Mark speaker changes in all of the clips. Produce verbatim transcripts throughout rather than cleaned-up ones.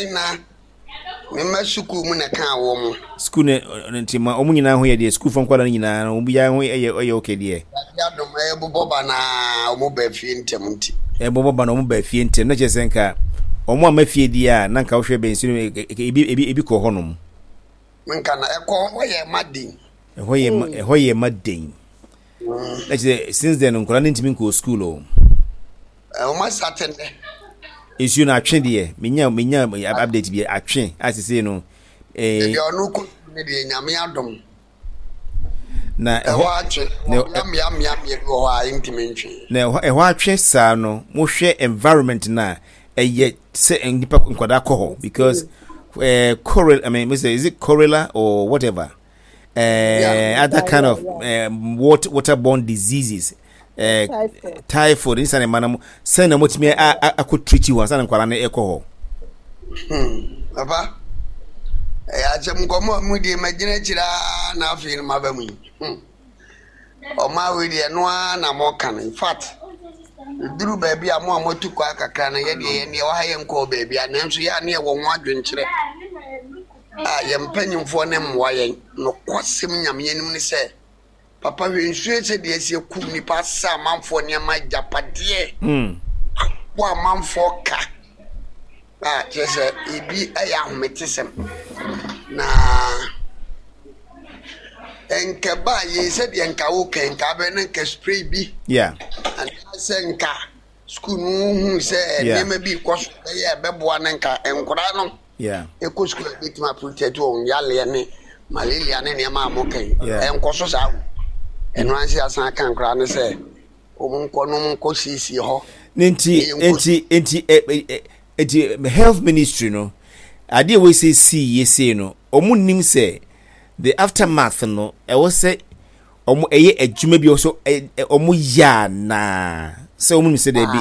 Speaker 1: Na mema sukuu mu na kaa wɔ mo.
Speaker 2: Sukuu ne nti ma ɔmo nyinaa ho yɛ deɛ, sukuufoɔ nkwadaa no nyinaa no, obiara ho yɛ ɛyɛ okay deɛ.
Speaker 1: Adom, ɛbobɔ ba na ɔmo ba fie ntɛm nti.
Speaker 2: Ɛbobɔ ba na ɔmo ba fie ntɛm na kyerɛ sɛ nka ɔmo ama fie deɛ a, na nka wohwɛ bɛn nsuo no, ebi ebi ebi kɔ hɔnom.
Speaker 1: Nka na ɛkɔ hɔ yɛ ma den.
Speaker 2: Ɛhɔ yɛ ma, ɛhɔ yɛ ma den. Na kyerɛ sɛ since then nkwadaa no ntumi nkɔ school o.
Speaker 1: Ɔmo asate nnɛ.
Speaker 2: Nsuo no atwe deɛ, menya menya update bi, atwe asese no.
Speaker 1: Ɛɛ deɛ ɔno kɔ ne deɛ, Nyame adom.
Speaker 2: Na
Speaker 1: ɛhɔ atwe mmea mmea mmea bi wɔ hɔ a ntumi ntwe.
Speaker 2: Na ɛhɔ ɛhɔ atwe saa no, mohwɛ environment na ɛyɛ sɛ nipa nkwadaa kɔ hɔ because ɛɛ cholera, I mean, is it cholera or whatever, uh, yeah, other kind of uh, water waterborne diseases, uh, typhoid nsa ne ma no sɛn na motumi akɔ treat hɔ ansa na nkwadaa no ɛkɔ hɔ?
Speaker 1: Papa, ɛyɛ asɛm. Nkɔmmɔ a mu deɛ magyina akyire a na afei no maba mu yi, ɔma wei deɛ, ɛno ara na mɔka no. In fact, duru baabi a mo a moatu kɔ akakra no, yɛdeɛ yɛn deɛ wɔha yɛn nkɔɔ baabi a, nanso yɛ a ne yɛwɔ ho adwenkyerɛ a yɛn mpanyimfoɔ ne mmoa yɛn. Nokwasɛm Nyame anim ne sɛ, papa, hwɛ nsuo sɛ deɛ asi akum nipa, asa amanfoɔ nneɛma, agyapadeɛ, abɔ amanfoɔ ka a kyerɛ sɛ ebi yɛ ahometesɛm. Na nka ba yɛ sɛdeɛ nka woka, nka abɛ na nka spray bi
Speaker 2: yeah
Speaker 1: anaasɛ nka sukuu no hu sɛ nneɛma bi kɔ so bɛyɛ ɛbɛboa no, nka nkwadaa no
Speaker 2: yeah
Speaker 1: ɛkɔ sukuu a, ɛbɛtumi aprotect wɔn yaleɛ ne malaria ne nneɛma a moka yi. Ɛnkɔ so saa o. Ɛno anse asan aka nkwadaa no sɛ wɔn nkɔ no, wɔn nkɔ siesie hɔ.
Speaker 2: Ne nti nti nti ɛ ɛ nti health ministry no, adeɛ wɔ sɛ si yie sei no, wɔn nim sɛ the aftermath no, ɛwɔ sɛ wɔn ɛyɛ adwuma bi wɔ so ɛ ɛ wɔn yɛ anaa sɛ wɔn nim sɛ dɛbi.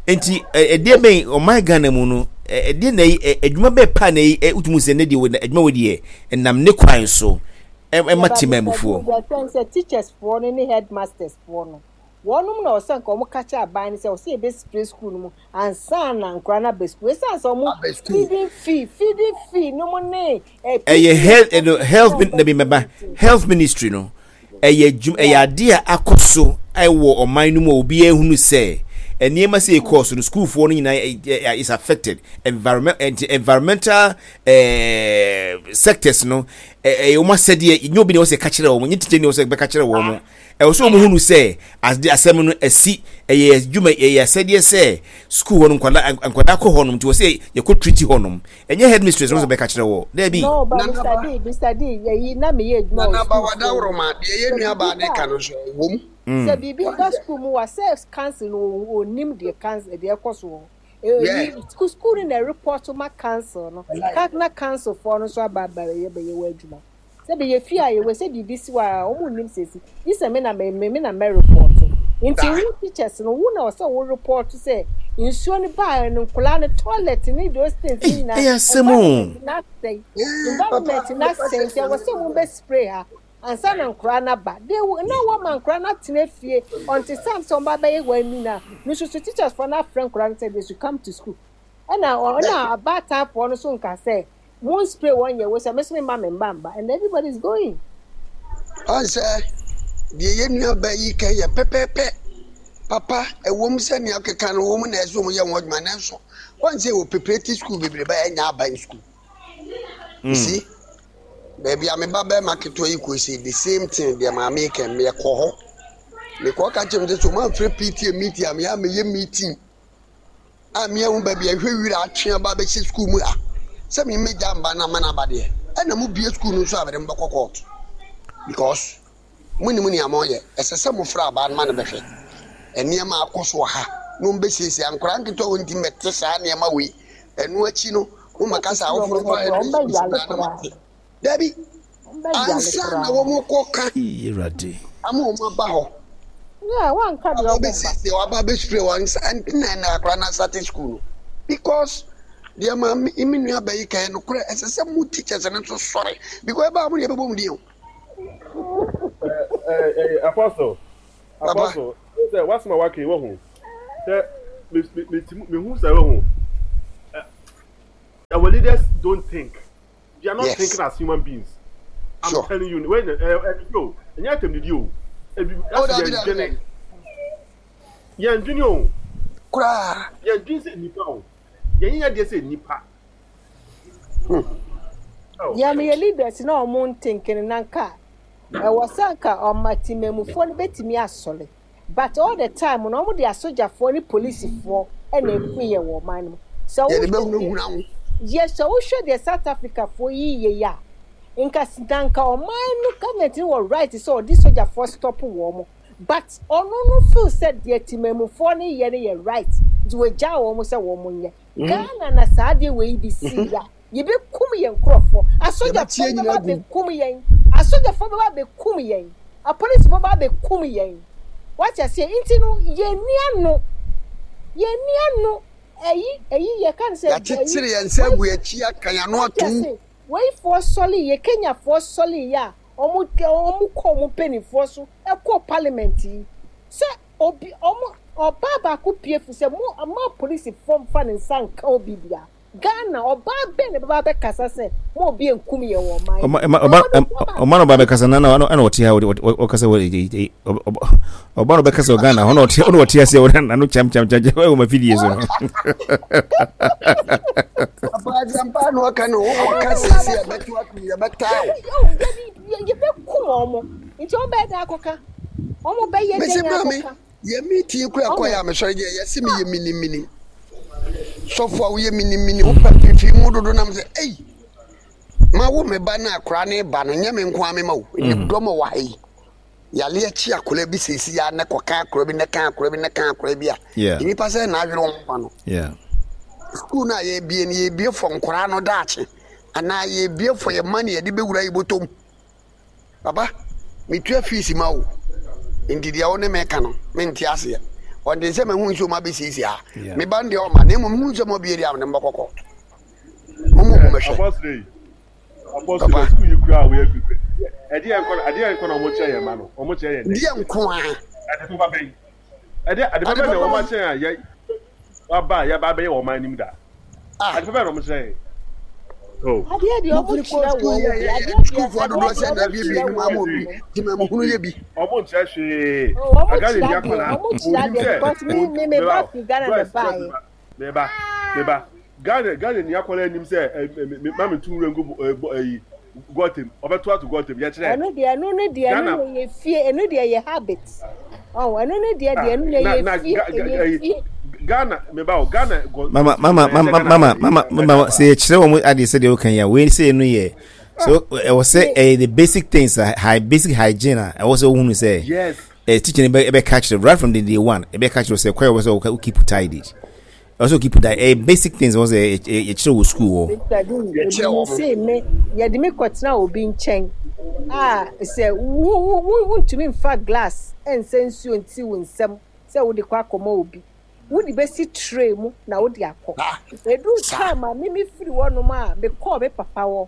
Speaker 2: Nti ɛdeɛ bɛn ɔman Ghana mu no, ɛdeɛ na ɛyi adwuma bɛɛ pa na ɛyi wotumu sɛ ne deɛ wɔ adwuma wɔ deɛ ɛnam ne kwan so ɛma temamufoɔ?
Speaker 3: Yɛfɛn sɛ teachers foɔ no ne headmasters foɔ no, wɔnom na ɔsɛ nka wɔn kakyɛ aban no sɛ ɔsɛ yɛbɛ spray school no mu ansa na nkora no aba school, esan sɛ wɔn feeding fee feeding fee no mu ne.
Speaker 2: Ɛyɛ health ɛno health na bi mɛba health ministry no, ɛyɛ adwuma, ɛyɛ adeɛ a akɔ so ɛwɔ ɔman no mu a obiara ehunu sɛ nneɛma sɛ ɛkɔɔ so no, sukuufoɔ no nyinaa is affected. Environment, environmental ɛɛ sectors no, ɛyɛ wɔn asɛdeɛ. Nye obi na wɔsɛ ka kyerɛ wɔn, nye teacher ni wɔsɛ bɛka kyerɛ wɔn. Ɛwɔ sɛ wɔn hunu sɛ ade asɛm no asi, ɛyɛ adwuma, ɛyɛ asɛdeɛ sɛ sukuu hɔ no nkwadaa nkwadaa kɔ hɔ nom, nti wɔsɛ yɛkɔ treat hɔ nom. Ɛnyɛ headmistress no sɛ bɛka kyerɛ wɔ dɛbi.
Speaker 3: No, but Mister D, Mister D, yɛyi na meyɛ adwuma wɔ
Speaker 1: Nana ba, wadaworo deɛ yɛ nua baa ne ka no so wɔm.
Speaker 3: Sɛ biribi ba sukuu mu wa sɛ council no, onim deɛ council deɛ ɛkɔ so wɔ hɔ. School no na report ma council no ka, na council foɔ no nso aba aba bɛyɛ bɛyɛ wɔ adwuma. Sɛ bɛyɛ fie a yɛwɔ sɛ biribi si hɔ a, wɔn nim sɛ si yi sɛ me na me me na mɛ report. Nti wo teachers no, wo na ɔsɛ wo report sɛ nsuo no baa no, nkɔlaa no toilet ne those things nyinaa.
Speaker 2: Ɛyɛ asɛm o.
Speaker 3: Environment na asɛe, environment na asɛe, nti ɛwɔ sɛ mo bɛ spray ha ansa na nkɔlaa no aba. They will na wɔn ma nkɔlaa no atena fie until time sɛ wɔn ba bɛyɛ wɔn ani na no nso so teachers foɔ no afrɛ nkɔlaa no sɛ they should come to school. Ɛna ɔna abaatan no so nka sɛ mo spray wɔn yɛ wɔ sɛ mɛsɛ mi ma mi mba mba and everybody is going.
Speaker 1: Ɔnsɛ deɛ yɛ nua ba yi ka yɛ pɛpɛɛpɛ. Papa, ɛwɔ mu sɛ nea ɔkeka no wɔ mu na ɛsɛ wɔn yɛ wɔn adwuma, nanso wɔn sɛ wɔ preparatory school bebree ba ɛnya aban school. You see, baabi a me ba bɛrima ketewa yi kɔ si, the same thing deɛ maame kɛ meyɛ kɔ hɔ, mekɔ ka kyerɛ m sɛ so ɔmo amfrɛ P T A meeting a, meyɛ ameyɛ meeting a meɛhu baabi a ɛhwɛ wira atwe aba bɛhyɛ school mu ha sɛ me mmɛgya mba na ama no aba deɛ, ɛna mo bie school no nso a, mede mo bɛkɔ court because mo nim nea moyɛ. Ɛsɛ sɛ mofrɛ abaa no ma no bɛhwɛ nneɛma akɔ so wɔ ha na wɔn bɛsiesie nkwadaa nketewa wɔn nti mɛte saa nneɛma wei. Ɛno akyi no, mo maka sɛ awofoɔ no fa ɛno mate dabi ansa na wɔn kɔ ka ama wɔn aba hɔ.
Speaker 3: Yeah, wanka deɛ ɔmo mba.
Speaker 1: Wɔbɛsiesie, wɔaba abɛspray wɔn nsa ntina na akwadaa no asate school no, because deɛ ma me me nua ba yi ka yɛ nokorɛ. Ɛsɛ sɛ mo teachers no nso sɔre because ɛbaa mo deɛ ɛbɛbɔ mu din o.
Speaker 4: Apostle.
Speaker 1: Papa.
Speaker 4: Apostle, sɛ wasɛm a waka yi wɔ ho sɛ mehu sɛ wɔ ho leaders don't think. They are not
Speaker 1: Yes.
Speaker 4: thinking as human beings. I'm
Speaker 1: Sure.
Speaker 4: telling you, when uh, uh, yo, and you tell you,
Speaker 1: Oh,
Speaker 4: that's
Speaker 1: dabi, dabi, dabi.
Speaker 4: yɛn dwene o,
Speaker 1: Koraa.
Speaker 4: Yɛn dwene sɛ nipa o, yɛn yɛ deɛ sɛ nipa. Oh.
Speaker 3: Yɛn yɛ leaders na ɔmo ntenkene na nka ɛwɔ sɛ nka ɔma temamufoɔ no bɛtumi asɔre, but all the time no, ɔmo de asogyafoɔ ne polisifoɔ ɛna eku yɛ wɔ ɔman no mu sɛ
Speaker 1: Yɛde
Speaker 3: wohwɛ
Speaker 1: bɛhunahuna wo.
Speaker 3: Yɛ sɛ wohwɛ deɛ South Africa foɔ yi yɛ yi a, nka s- na nka ɔman no government no wɔ right sɛ ɔde sogyafoɔ stop wɔn mo, but ɔno no feel sɛ deɛ temamufoɔ no yɛ no yɛ right, nti wɔgyaa wɔn sɛ wɔn nyɛ. Ghana na saa adeɛ wɔ yi bi si ya, yɛbɛkum yɛn nkurɔfoɔ.
Speaker 1: Yɛbɛtie
Speaker 3: Asogyafoɔ
Speaker 1: nyinaa
Speaker 3: bɛba
Speaker 1: gu.
Speaker 3: abɛkum yɛn, asogyafoɔ bɛba abɛkum yɛn, apolisifoɔ bɛba abɛkum yɛn. Wate aseɛ? Nti no, yɛn ni ano, yɛn ni ano, ɛyi ɛyi yɛ ka no sɛ
Speaker 1: Yɛakyekyere yɛn nsa agu akyi aka yɛn ano
Speaker 3: wate
Speaker 1: atom.
Speaker 3: ase? Weifoɔ sɔle yɛ, Kenyafoɔ sɔle yɛ a, ɔmo ɔmo kɔ ɔmo mpanimfoɔ so ɛkɔ parliament yi sɛ obi ɔmo ɔbaa baako pie fi sɛ mo ama polisifoɔ mfa ne nsa nka obi bia. Ghana ɔbaa bɛn na bɛba bɛkasa sɛ mo obi nkum yɛ wɔ ɔman
Speaker 2: ɔma ɔma ɔma ɔma no ba bɛkasa na na ɛna ɔte ha, ɔkasa wɔ ɔba no bɛkasa wɔ Ghana hɔ na ɔte ɔna ɔte ase wɔ n'ano kyam kyam kyam kyam ɛwɔ ma fidie so no.
Speaker 1: Papa, asɛmpa na ɔka no, wowɔ ka sɛsi yɛbɛto atom, yɛbɛtaa wo.
Speaker 3: Yɛbɛkum ɔmo, nti ɔmo bɛyɛ dɛ akɔka, ɔmo bɛyɛ
Speaker 1: Mese
Speaker 3: dɛ
Speaker 1: maame,
Speaker 3: akɔka.
Speaker 1: Yɛ meeting kora kɔ yɛ a mesɔre gye yɛse meyɛ minimini sɔfo a woyɛ minimini, wopɛ fifi mu dodo nam sɛ ei, ma wo me ba no akora ne ba no nyɛ me nko a mema wo ne dɔm a wɔ ha yi yale akyi akora bi sɛsi ya ne kɔka akora bi ne ka akora bi ne ka akora bi a
Speaker 2: Yeah.
Speaker 1: nnipa sɛ na adwene wɔn ba no.
Speaker 2: Yeah.
Speaker 1: School no a yɛbie no, yɛbie fɔ nkoraa no daakye anaa yɛbie fɔ yɛ ma ne yɛde bɛwura yi bɔtɔm? Papa, metua fees ma wo, nti deɛ wo ne meka no mente aseɛ. Ɔnte sɛ mahu nsuo ma bɛsiesie a
Speaker 2: Yeah.
Speaker 1: meba no deɛ ɔma na mmom hu sɛ ma bie deɛ a mene mbɔkɔkɔ momu mo mɛhwɛ.
Speaker 4: Apostle, apostle,
Speaker 1: Papa.
Speaker 4: School yi kura a wɔyɛ kuku. Ɛdeɛ nkɔ ɛdeɛ nkɔ na ɔmo kyerɛ yɛn ma no, ɔmo kyerɛ yɛn dɛ.
Speaker 1: Deɛ nko a
Speaker 4: Ade papa bɛyi. Ɛdeɛ ade papa bɛn na ɔmo akyerɛ a yɛ waba a yɛba abɛyɛ wɔ ɔman anim da.
Speaker 1: Ah.
Speaker 4: Ade papa bɛn na ɔmo kyerɛ yɛn. Oh.
Speaker 3: Adeɛ deɛ ɔmo
Speaker 1: mofiri kɔ
Speaker 3: kyerɛ
Speaker 1: school
Speaker 3: wɔn
Speaker 1: yɛ
Speaker 3: bi
Speaker 1: yɛ
Speaker 3: adeɛ deɛ
Speaker 1: sukuufoɔ
Speaker 3: adeɛ
Speaker 1: dodoɔ
Speaker 3: deɛ
Speaker 1: sɛ na
Speaker 3: ɔmo
Speaker 1: abiebie
Speaker 3: kyerɛ
Speaker 1: no mu ama
Speaker 3: wɔn
Speaker 1: obi nti ma muhunu yɛ bi.
Speaker 4: Ɔmo nkyerɛ hwee.
Speaker 3: Oh, ɔmo
Speaker 4: Agane
Speaker 3: kyerɛ
Speaker 4: ni
Speaker 3: adeɛ
Speaker 4: akwadaa.
Speaker 3: ɔmo kyerɛ
Speaker 4: Onim
Speaker 3: adeɛ
Speaker 4: sɛ
Speaker 3: because me me me ba fi Ghana na baayɛ.
Speaker 4: Meba meba Ghana Ghana ni akwadaa anim sɛ ɛ ɛ me maame tu nwura ngu ɛ bɔ ɛyi gɔtem, ɔbɛto ato gɔtem yɛkyerɛ.
Speaker 3: Ɛno deɛ, ɛno no deɛ, ɛno
Speaker 4: Ghana
Speaker 3: no yɛ fie, ɛno deɛ yɛ habit ɔn, ɛno no deɛ deɛ ɛno deɛ
Speaker 4: na
Speaker 3: yɛ
Speaker 4: na
Speaker 3: fie
Speaker 4: ga ga
Speaker 3: ɛyɛ
Speaker 4: ɛyi
Speaker 3: fie.
Speaker 4: Ghana meba o, Ghana gɔ
Speaker 2: Mama, mama,
Speaker 4: ɛyɛ sɛ
Speaker 2: mama,
Speaker 4: Ghana
Speaker 2: mama, mama, mama, sɛ yɛkyerɛ wɔn adeɛ sɛ deɛ woka yi a, wei sɛ no yɛ so ɛwɔ sɛ ɛyɛ the basic things a hy basic hygiene a ɛwɔ sɛ wohunu sɛ
Speaker 4: yes
Speaker 2: ɛ teacher no bɛ ɛbɛka kyerɛ right from the day one, ɛbɛka kyerɛ sɛ kwan a ɛwɔ sɛ wo keep tidy, ɛwɔ sɛ wo keep tidy, ɛyɛ basic things ɛwɔ sɛ yɛkyerɛ wɔ school hɔ.
Speaker 3: Mr. Dean,
Speaker 1: Yɛkyerɛ
Speaker 3: ebi
Speaker 1: wɔ mo.
Speaker 3: Se me yɛde me kɔtena obi nkyɛn a sɛ wo wo wo wontumi nfa glass ɛnsɛ nsuo nti wo nsam sɛ wode kɔ akɔma obi, wode bɛsi tray mu na wode akɔ.
Speaker 1: Ah,
Speaker 3: edu
Speaker 1: saa.
Speaker 3: Time a mimi firi hɔnom a mekɔɔ me papa hɔ,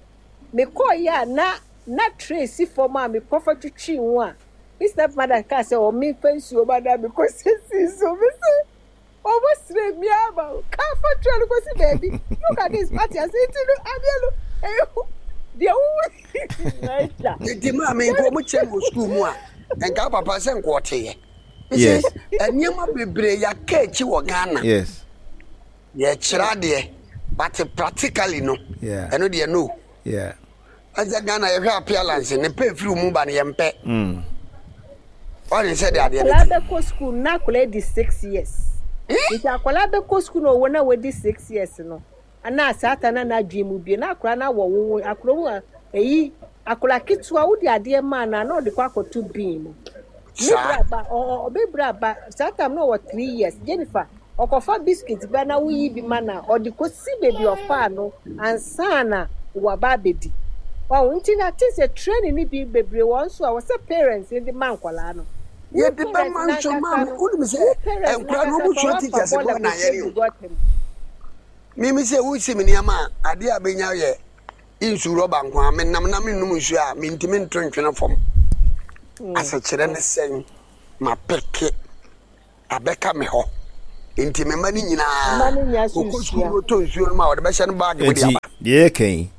Speaker 3: mekɔɔ yi a na na tray si fam a mekɔfa twitwi ho a me step mother kaa sɛ ɔme fa nsuo ma na mekɔ sisi so, me sɛ ɔmo sere mi ama kaa fa tray no kɔsi baabi. Look at this party ase, nti no adeɛ no ɛyɛ deɛ wowu ɛgya.
Speaker 1: Nti maame, nka ɔmo kyerɛ no wɔ school mu a, nka papa sɛ nka ɔteeɛ.
Speaker 2: Yes.
Speaker 1: Nneɛma bebree yɛaka akyi wɔ Ghana.
Speaker 2: Yes
Speaker 1: yɛkyerɛ adeɛ, but practically no,
Speaker 2: Yeah.
Speaker 1: ɛno deɛ no.
Speaker 2: Yeah
Speaker 1: ɛsɛ Ghana yɛhwɛ appearance ne pɛ firi mu ba no, yɛmpɛ.
Speaker 2: mm.
Speaker 1: Ɔne sɛ de adeɛ no
Speaker 3: Akwadaa
Speaker 1: te.
Speaker 3: bɛkɔ school na akwadaa di six years, nti akwadaa bɛkɔ school na ɔwɔ na wadi six years no ana saa ta na n'adwene mu bie na akwadaa na wɔ wo akwadaa mu a eyi akwadaa ketewa wode adeɛ maa na na ɔde kɔ akɔto bin mu ne
Speaker 1: saa
Speaker 3: bra ba ɔ ɔ ɔbɛ bra ba saa time na ɔwɔ three years. Jennifer ɔkɔfa biscuit ba na woyi bi ma na ɔde kɔsi beebi ɔfaa no ansa na waba abɛdi ɔn. Nti na te sɛ training ni bi bebree wɔn nso a wɔsɛ parents ne de ma nkwadaa no. Wo
Speaker 1: Yɛde
Speaker 3: parents
Speaker 1: bɛma nso
Speaker 3: n'ankasa
Speaker 1: maame
Speaker 3: no
Speaker 1: wonim sɛ
Speaker 3: wo parents
Speaker 1: nkora no
Speaker 3: n'ankasa
Speaker 1: ɔmo
Speaker 3: kora
Speaker 1: sua
Speaker 3: wafa
Speaker 1: teachers
Speaker 3: bɔɔla
Speaker 1: bɔ na
Speaker 3: kɔsi
Speaker 1: yɛne
Speaker 3: egu
Speaker 1: o
Speaker 3: gɔtɛm.
Speaker 1: Mimi sɛ wosi me nneɛma a adeɛ a bɛnya yɛ nsu rɔba nko a menam na mennom nsuo a mentimi nto ntwene fam. Asɛkyerɛ ne sɛn mapeke abɛka me hɔ, nti me mma no
Speaker 3: Mma
Speaker 1: nyinaa
Speaker 3: no nya so
Speaker 1: ɔkɔ sukuu
Speaker 3: nsua.
Speaker 1: no ɔtɔ nsuo no ma a ɔde bɛhyɛ no bag mu de
Speaker 2: nti
Speaker 1: aba.
Speaker 2: Deɛ yɛka yi,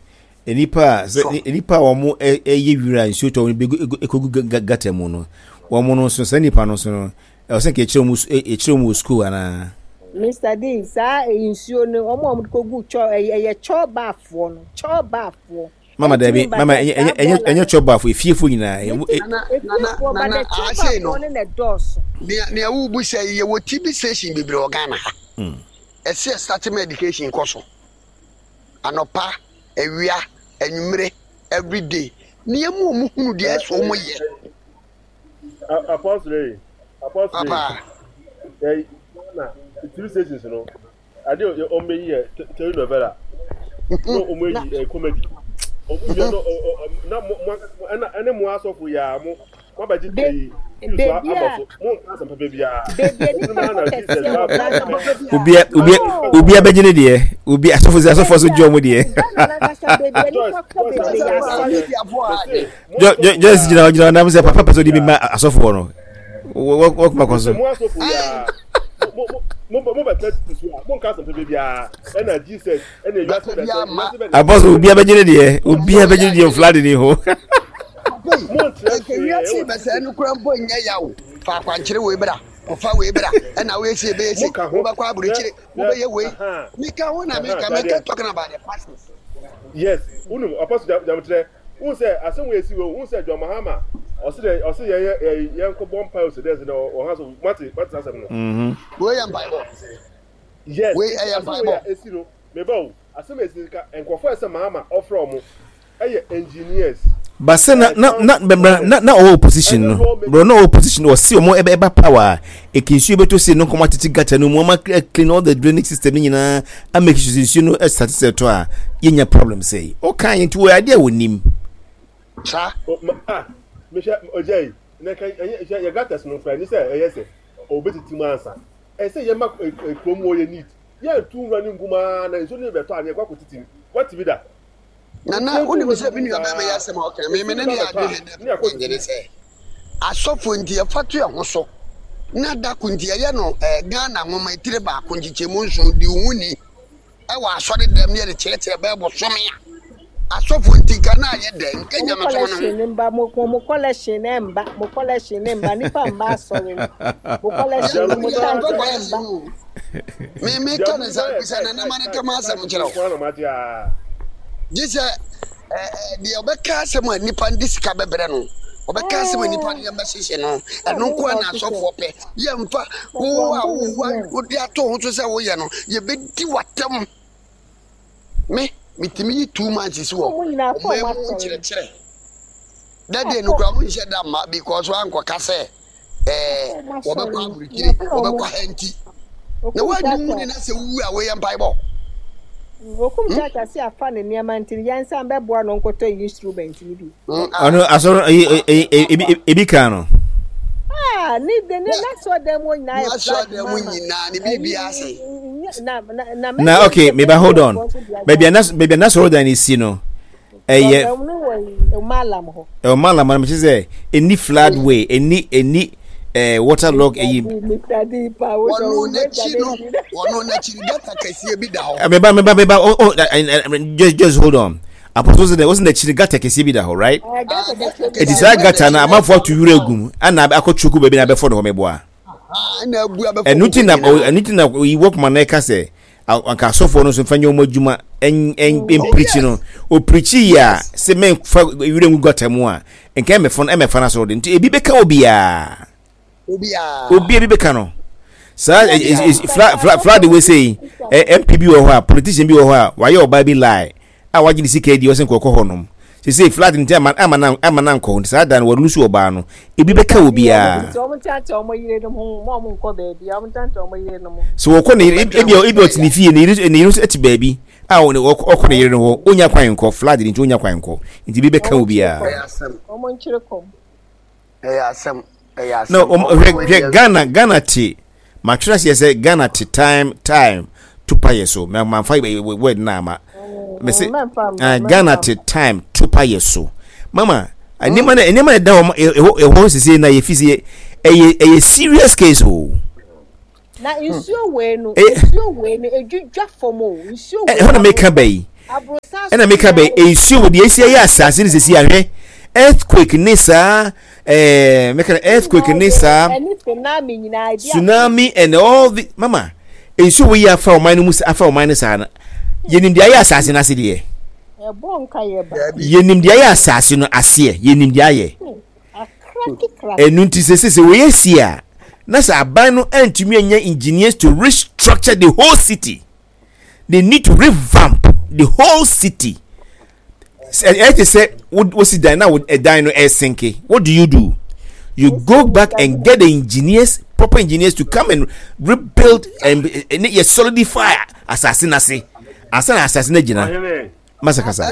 Speaker 2: nnipa a sɛ nnipa a wɔn ɛyɛ wira nsuo tɔ wɔn bɛgu ɛkɔgu gata mu no, wɔn no nso saa nnipa no nso no, ɛwɔ sɛ nka yɛkyerɛ wɔn yɛkyerɛ wɔn wɔ sukuu anaa?
Speaker 3: Mister D, saa nsuo no, wɔn a wɔde kɔgu kyɔ ɛyɛ ɛyɛ kyɔɔbaafoɔ no, kyɔɔbaafoɔ.
Speaker 2: Mama dabi, mama ɛnyɛ ɛnyɛ ɛnyɛ ɛnyɛ kyɔɔbaafo, efiefoɔ nyinaa.
Speaker 1: Nana nana nana ase no, nea nea wobu sɛ yɛwɔ T V station bebree wɔ Ghana ha. Ɛsɛ starting medication kɔ so. Anɔpa, awia, anwummere, everyday. Nneɛma a wɔn hunu deɛ ɛsɛ wɔn yɛ.
Speaker 4: Apostle yi, apostle yi.
Speaker 1: Papa.
Speaker 4: Ɛ Ghana T V stations no, ade a wɔn bɛyi yɛ telenovela. No wɔn ayi ɛ comedy. Wɔn yɛ no na mo mo ɛna ɛne mo asɔfo yɛ a mo mo abɛgye ɛyi so abɔ so mo nka asɛm pɛpɛ biara.
Speaker 3: Beebi nipa kɔ kɛseɛ wɔ Ghana.
Speaker 2: Obia obia obia bɛgye ne deɛ, obi asɔfo sɛ asɔfo so gye ɔmo deɛ.
Speaker 3: Ghana nankasa, beebi a nipa kɔ bebree yɛ asɔre.
Speaker 2: Joyce gyina hɔ gyina hɔ nam sɛ papa pɛ sɛ ɔde bi ma asɔfoɔ no, wɔkoma kɔ so.
Speaker 4: Mo asɔfo yɛ a mo mo mo mo bɛ tɛ so a mo nka asɛm pɛpɛ biara, ɛna Jesus ɛna ewiase bɛ sɛ ewiase bɛ.
Speaker 2: Abɔso obia bɛgye ne deɛ, obia bɛgye ne deɛ, flood ni ho.
Speaker 1: Nka wiase bɛsɛɛ no kora mpo nyɛ yaw. Fa akwankyerɛ wei bra, kɔfa wei bra, ɛna woyɛ se ɛbɛyɛ se wobɛkɔ aburokyire, wobɛyɛ wei. Meka ho na meka meka talking about the pastors.
Speaker 4: Yes, wonum Apostle Jamutrɛ wohu sɛ asɛm wei esi wei, wohu sɛ John Mahama ɔsi dɛ ɔsi yɛn yɛ yɛn kɔ bɔ mpae ɔsi dɛ ɛsɛ dɛ ɔha so mate mate asɛm no.
Speaker 1: Wei yɛ mpaebɔ.
Speaker 4: Yes.
Speaker 1: Wei ɛyɛ
Speaker 4: asɛm wei a esi no, meba o, asɛm a esi ka nkurɔfoɔ ɛsɛ Mahama ɔfrɛ ɔmo ɛyɛ engineers.
Speaker 2: But sɛ na na na bɛmra na na ɔwɔ opposition no bro, na ɔwɔ opposition, ɔsi ɔmo ɛbɛ ɛba power a eke nsuo bɛtɔ se no nkɔmɔ atete gutter no mu, ɔmo clean all the drainage system no nyinaa, ama sure sɛ nsuo no ɛsate sɛ ɛtɔ a yɛnya problem sɛ yi ɔka yɛn nti wɔ adeɛ a wɔnim.
Speaker 1: Saa.
Speaker 4: Ah, mehwɛ ɔgya yi na ka ɛnyɛ hwɛ yɛ gutters no kora ni sɛ ɛyɛ sɛ ɔbɛtiti mu ansa, ɛsɛ yɛ ma kurom wɔ yɛ neat, yɛntu nwura ne ngu mu aa na nsuo no bɛtɔ a ne yɛkɔ akɔtiti mu wate bi da.
Speaker 1: Nana, wonim sɛ me nua bɛrima yɛ asɛm a ɔka me me ne ne yɛ adwene dɛ nyɛ ne sɛ asɔfo nti yɛfa to yɛn ho so na dako nti yɛyɛ no ɛɛ Ghana nwoma etire baako nkyekyɛmu nson di wo ho ni ɛwɔ asɔre dɛm ne yɛde kyerɛkyerɛ bɛɛ bɔsɔme a asɔfo nti nka na ayɛ dɛ nka
Speaker 3: Mo
Speaker 1: nyamesom no ho.
Speaker 3: Collection ne mba, mo mo collection ne mba, mo collection ne mba, nipa mba asɔre no. Mo collection no, mo tithe ne mba.
Speaker 1: Me me ka ne sa bisa na nama ne kama asɛm kyerɛ wo gye sɛ ɛɛ deɛ ɔbɛka asɛm a nipa de sika bɛbrɛ no, ɔbɛka asɛm a nipa de bɛhyehyɛ no, ɛno nko a na asɔfoɔ pɛ. Yɛmfa wo a wo wode ato ho so sɛ woyɛ no, yɛbɛdi w'atɛm. Me metumi yi two months si wɔ
Speaker 3: Ɔmo nyinaa fɔ
Speaker 1: ɔman
Speaker 3: ɔmo
Speaker 1: mu
Speaker 3: asɔre.
Speaker 1: Nkyerɛkyerɛ dade no kora mo nhyɛ da mma because wankɔka sɛ ɛɛ
Speaker 3: Ɔmo
Speaker 1: wɔbɛkɔ
Speaker 3: asɔre.
Speaker 1: aburukyire, wɔbɛkɔ ha nti na
Speaker 3: Okum
Speaker 1: woanyi wo ne
Speaker 3: Kyakya.
Speaker 1: na sɛ wowu a woyɛ mpaebɔ.
Speaker 3: Okum Kyakya si afa ne nneɛma nti yɛnsan bɛboa no nkɔtɔ instrument ni bi.
Speaker 2: Ɔno asɔre ɛyi ɛyi ebi ebi kan no.
Speaker 3: Ah, ne de ne n'asɔ dɛm wɔ nyinaa yɛ
Speaker 1: n'asɔ dɛm mu nyinaa ne biribi ase.
Speaker 3: Na na na
Speaker 2: Na okay, meba, hold on, baabi a nas baabi a n'asɔre dan no si no ɛyɛ
Speaker 3: ɛno wɔ Malam hɔ.
Speaker 2: Ɛwɔ Malam no, mekyerɛ sɛ ɛni flood way, ɛni ɛni ɛɛ water log ɛyi.
Speaker 3: Mister D pa wo sɛ
Speaker 1: Wɔno n'akyi no, wɔno n'akyi no gutter kɛseɛ bi da hɔ.
Speaker 2: Meba, meba, meba, oh oh, just just hold on. Apostle sɛ wɔsi n'akyi no gutter kɛseɛ bi da hɔ, right? Eti saa gutter no amanfoɔ ato wura egu mu ɛna akɔ tsuku baabi na abɛfɔ ne hɔ, mɛboa.
Speaker 1: Ɛna abu abɛfɔ.
Speaker 2: Ɛnu ti na ɛnu ti na oyi wɔkuma na ɛka sɛ anka asɔfoɔ no nso nfa nyɛ wɔn adwuma ɛn ɛn mpirikyi no, opirikyi yi a sɛ mɛnfa wura ngu gutter mu a nka ɛmɛfɔ no ɛmɛfa n'asɔrɔ de nti ebi bɛka obiara.
Speaker 1: Obiara.
Speaker 2: Obiara bi bɛka no saa flood flood flood wei sɛ yi M P bi wɔ hɔ a, politician bi wɔ hɔ a wayɛ ɔbaa bi lie a wagye ne sika adi, ɔsɛ nkɔkɔ hɔ nom sese flood nti ama ama na ama na nkɔ hɔ, saa da no wɔlusu ɔbaa no, ebi bɛka obiara.
Speaker 3: Ɔmo nkyɛnkyɛn ɔmo yerenom ho, mo ɔmo nkɔ baabi, ɔmo nkyɛnkyɛn ɔmo yerenom ho.
Speaker 2: So wɔkɔ ne yere, ebi ebi ɔte ne fie, ne yere ne yere nso te baabi a ɔkɔ ne yere no hɔ, onya kwan nkɔ, flood nti onya kwan nkɔ, nti ebi bɛka obiara.
Speaker 1: Ɛyɛ asɛm.
Speaker 3: Ɔmo nkyerɛ kɔm.
Speaker 1: Ɛyɛ asɛm, ɛyɛ asɛm.
Speaker 2: No, hwɛ hwɛ, Ghana Ghana te matwerɛ aseɛ sɛ Ghana te time time tupa yɛ so ma manfa word na ama mese Ghana te time tupa yɛ so. Mama, nneɛma na nneɛma na ɛda hɔ ɛhɔ ɛhɔ sese na yɛ fi se ɛyɛ ɛyɛ serious case o.
Speaker 3: Na nsuo wei no, nsuo wei no edwidwa fam o, nsuo wei.
Speaker 2: Ɛhɔ na meka bɛ yi.
Speaker 3: Aborosan.
Speaker 2: Ɛna meka bɛ nsuo wɔ deɛ esi ayɛ asase no sisi ahwɛ earthquake ne saa ɛɛ meka no earthquake ne saa tsunami and all the mama nsuo wɔ yi afa ɔman no mu afa ɔman no saa no yɛnim deɛ ayɛ asase no ase deɛ yɛnim deɛ ayɛ asase no aseɛ yɛnim deɛ ayɛ ɛnu nti sɛ sɛ sɛ wɔyɛ si a na sɛ aban no antumi anya engineers to restructure the whole city they need to revamp the whole city ɛyɛ te sɛ wosi dan na ɛdan no ɛsenke what do you do you go back and get the engineers proper engineers to come and rebuild and and yɛ solidify asase n'ase asa na asase no gyina masakasa.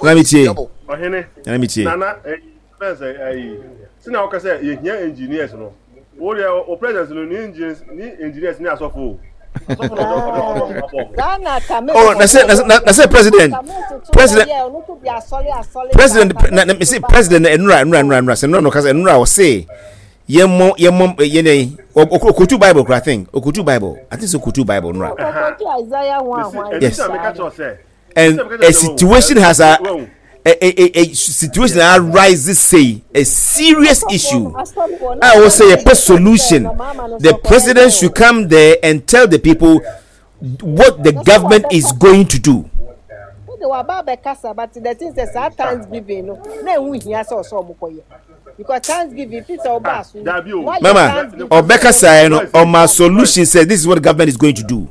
Speaker 1: Na
Speaker 2: mi tie na mi tie.
Speaker 4: Fɛn sɛ ɛyi sina ɔka sɛ yɛhia engineers no wo deɛ o president no ni engineers ni engineers ni asɔfo o asɔfo na ɔdɔ ɔdɔ ɔdɔ abɔ.
Speaker 2: Oh, na sɛ na na sɛ president president president na na sɛ president enura enura enura enura sɛ enura no kasa enura ɔse yɛmmɔ yɛmmɔ yɛn dɛ okotu bible kora think okotu bible I think so okotu bible nura. Yes. And a situation has a a, a, a situation that arises say a serious issue. I will say a solution. The president should come there and tell the people what the government is going to do. Mama, Obeka say no, on my solution says this is what the government is going to do.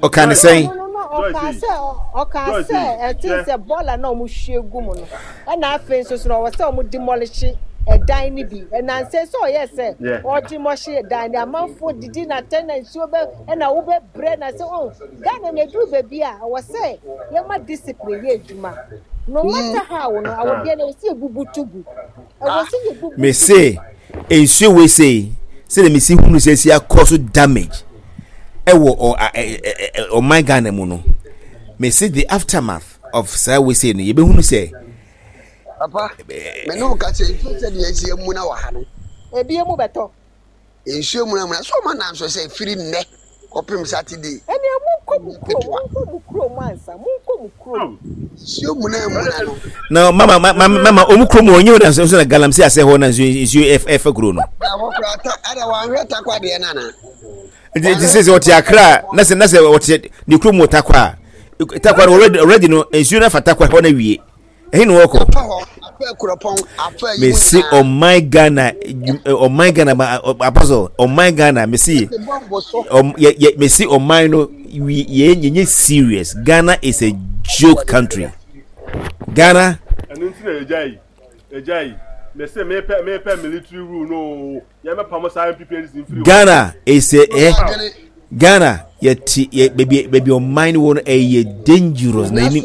Speaker 2: Ɔka ne sɛn.
Speaker 3: Ɔka sɛ ɔka sɛ ɛte sɛ bɔɔla na ɔmo hwie gu mu no ɛna afei nso so na ɔwɔ sɛ ɔmo demolish ɛdan no bi ɛnansɛ sɛ ɔyɛ sɛ ɔdemolish ɛdan no amanfoɔ didi na tɛn na nsuo bɛ ɛna wobɛ brɛ na sɛ ɔn Ghana na eduru baabi a ɔwɔ sɛ yɛma discipline yɛ adwuma no matter how no awodeɛ na ɛwɔ sɛ yɛbubu to gu ɛwɔ sɛ yɛbubu.
Speaker 2: Mese nsuo wei sei sɛdeɛ mesi hunu sɛ si akɔ so damage ɛwɔ ɔman Ghana mu no mese the aftermath of saa wei sei no yɛbɛhunu sɛ.
Speaker 1: Papa me ne wo ka sɛ nsuo sɛ deɛ ɛsi amuna wɔ ha no.
Speaker 3: Ebi emu bɛtɔ.
Speaker 1: Nsuo mu amuna so ɔma nanso sɛ firi nnɛ kɔpem Saturday.
Speaker 3: Ɛnna mu nkɔ mu kurom mu nkɔ mu kurom ansa mu nkɔ mu kurom.
Speaker 1: Nsuo mu na amuna no.
Speaker 2: Na mama mama mama ɔmu kurom wɔ nye hɔ na nso na galamsey asɛ hɔ na nsuo nsuo ɛfɛ kuro no.
Speaker 1: Ɛhɔ kura ta ɛna wɔn ahwɛ takwa deɛ nana.
Speaker 2: Nti nti sɛ sɛ ɔte Accra na sɛ na sɛ ɔte ne kurom wɔ Tarkwa a Tarkwa no already already no nsuo no afa Tarkwa hɔ na wie ɛhe na wɔkɔ. Mesi ɔman Ghana ɔman Ghana ma apostle ɔman Ghana mesi ɔm yɛ yɛ mesi ɔman no we yɛ yɛ serious Ghana is a joke country Ghana.
Speaker 4: Ɛnu nti na ɛgya yi ɛgya yi mesi mepɛ mepɛ military rule no.
Speaker 2: Ghana is a eh, Ghana yɛte yɛ baabi baabi ɔman no wɔ no ɛyɛ dangerous na ɛni.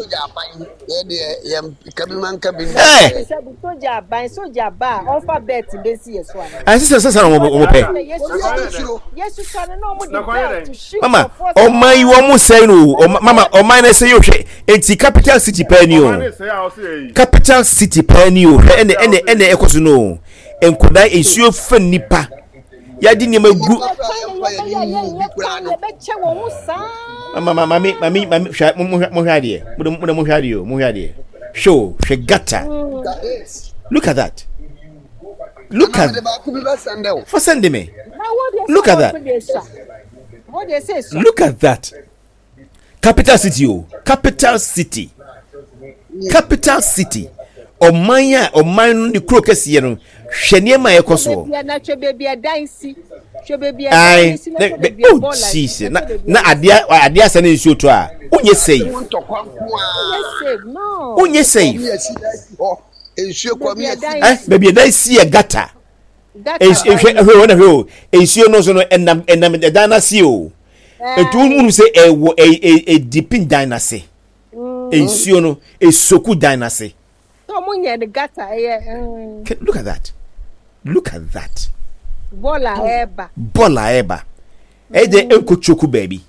Speaker 2: Ɛɛ sɛ sɛ sɛ na wɔn pɛ. Mama ɔman yi wɔn sɛn no o mama ɔman no sɛ yɛ hwɛ eti capital city pɛɛ ni o capital city pɛɛ ni o hwɛ ɛnɛ ɛnɛ ɛnɛ ɛkɔ so no o. Nkwadaa nsuo fa nipa yɛde nneɛma gu. Mama mami mami mami hwɛ mo hwɛ mo hwɛ adeɛ mo de mo de mo hwɛ adeɛ o mo hwɛ adeɛ hwɛ o hwɛ gutter look at that look at fa send me look at that look at that capital city o capital city capital city ɔman a ɔman no ne kuro kɛseɛ no hwɛ nneɛma a ɛkɔ soɔ. Ayi na oh Jesus na na adeɛ adeɛ asa ne nsuo tɔ a wonyɛ safe wonyɛ safe ɛ baabi ɛdan si yɛ gata hwɛ hwɛ wɔn na hwɛ o nsuo no nso no ɛnam ɛnam ɛdan n'ase o etu wɔn mu sɛ ɛwɔ ɛ ɛ ɛdipin dan n'ase nsuo no esoku dan n'ase. Look at that look at that.
Speaker 3: Bɔɔla ɛɛba.
Speaker 2: Bɔɔla ɛɛba ɛyɛ dɛ nkotsoku baabi.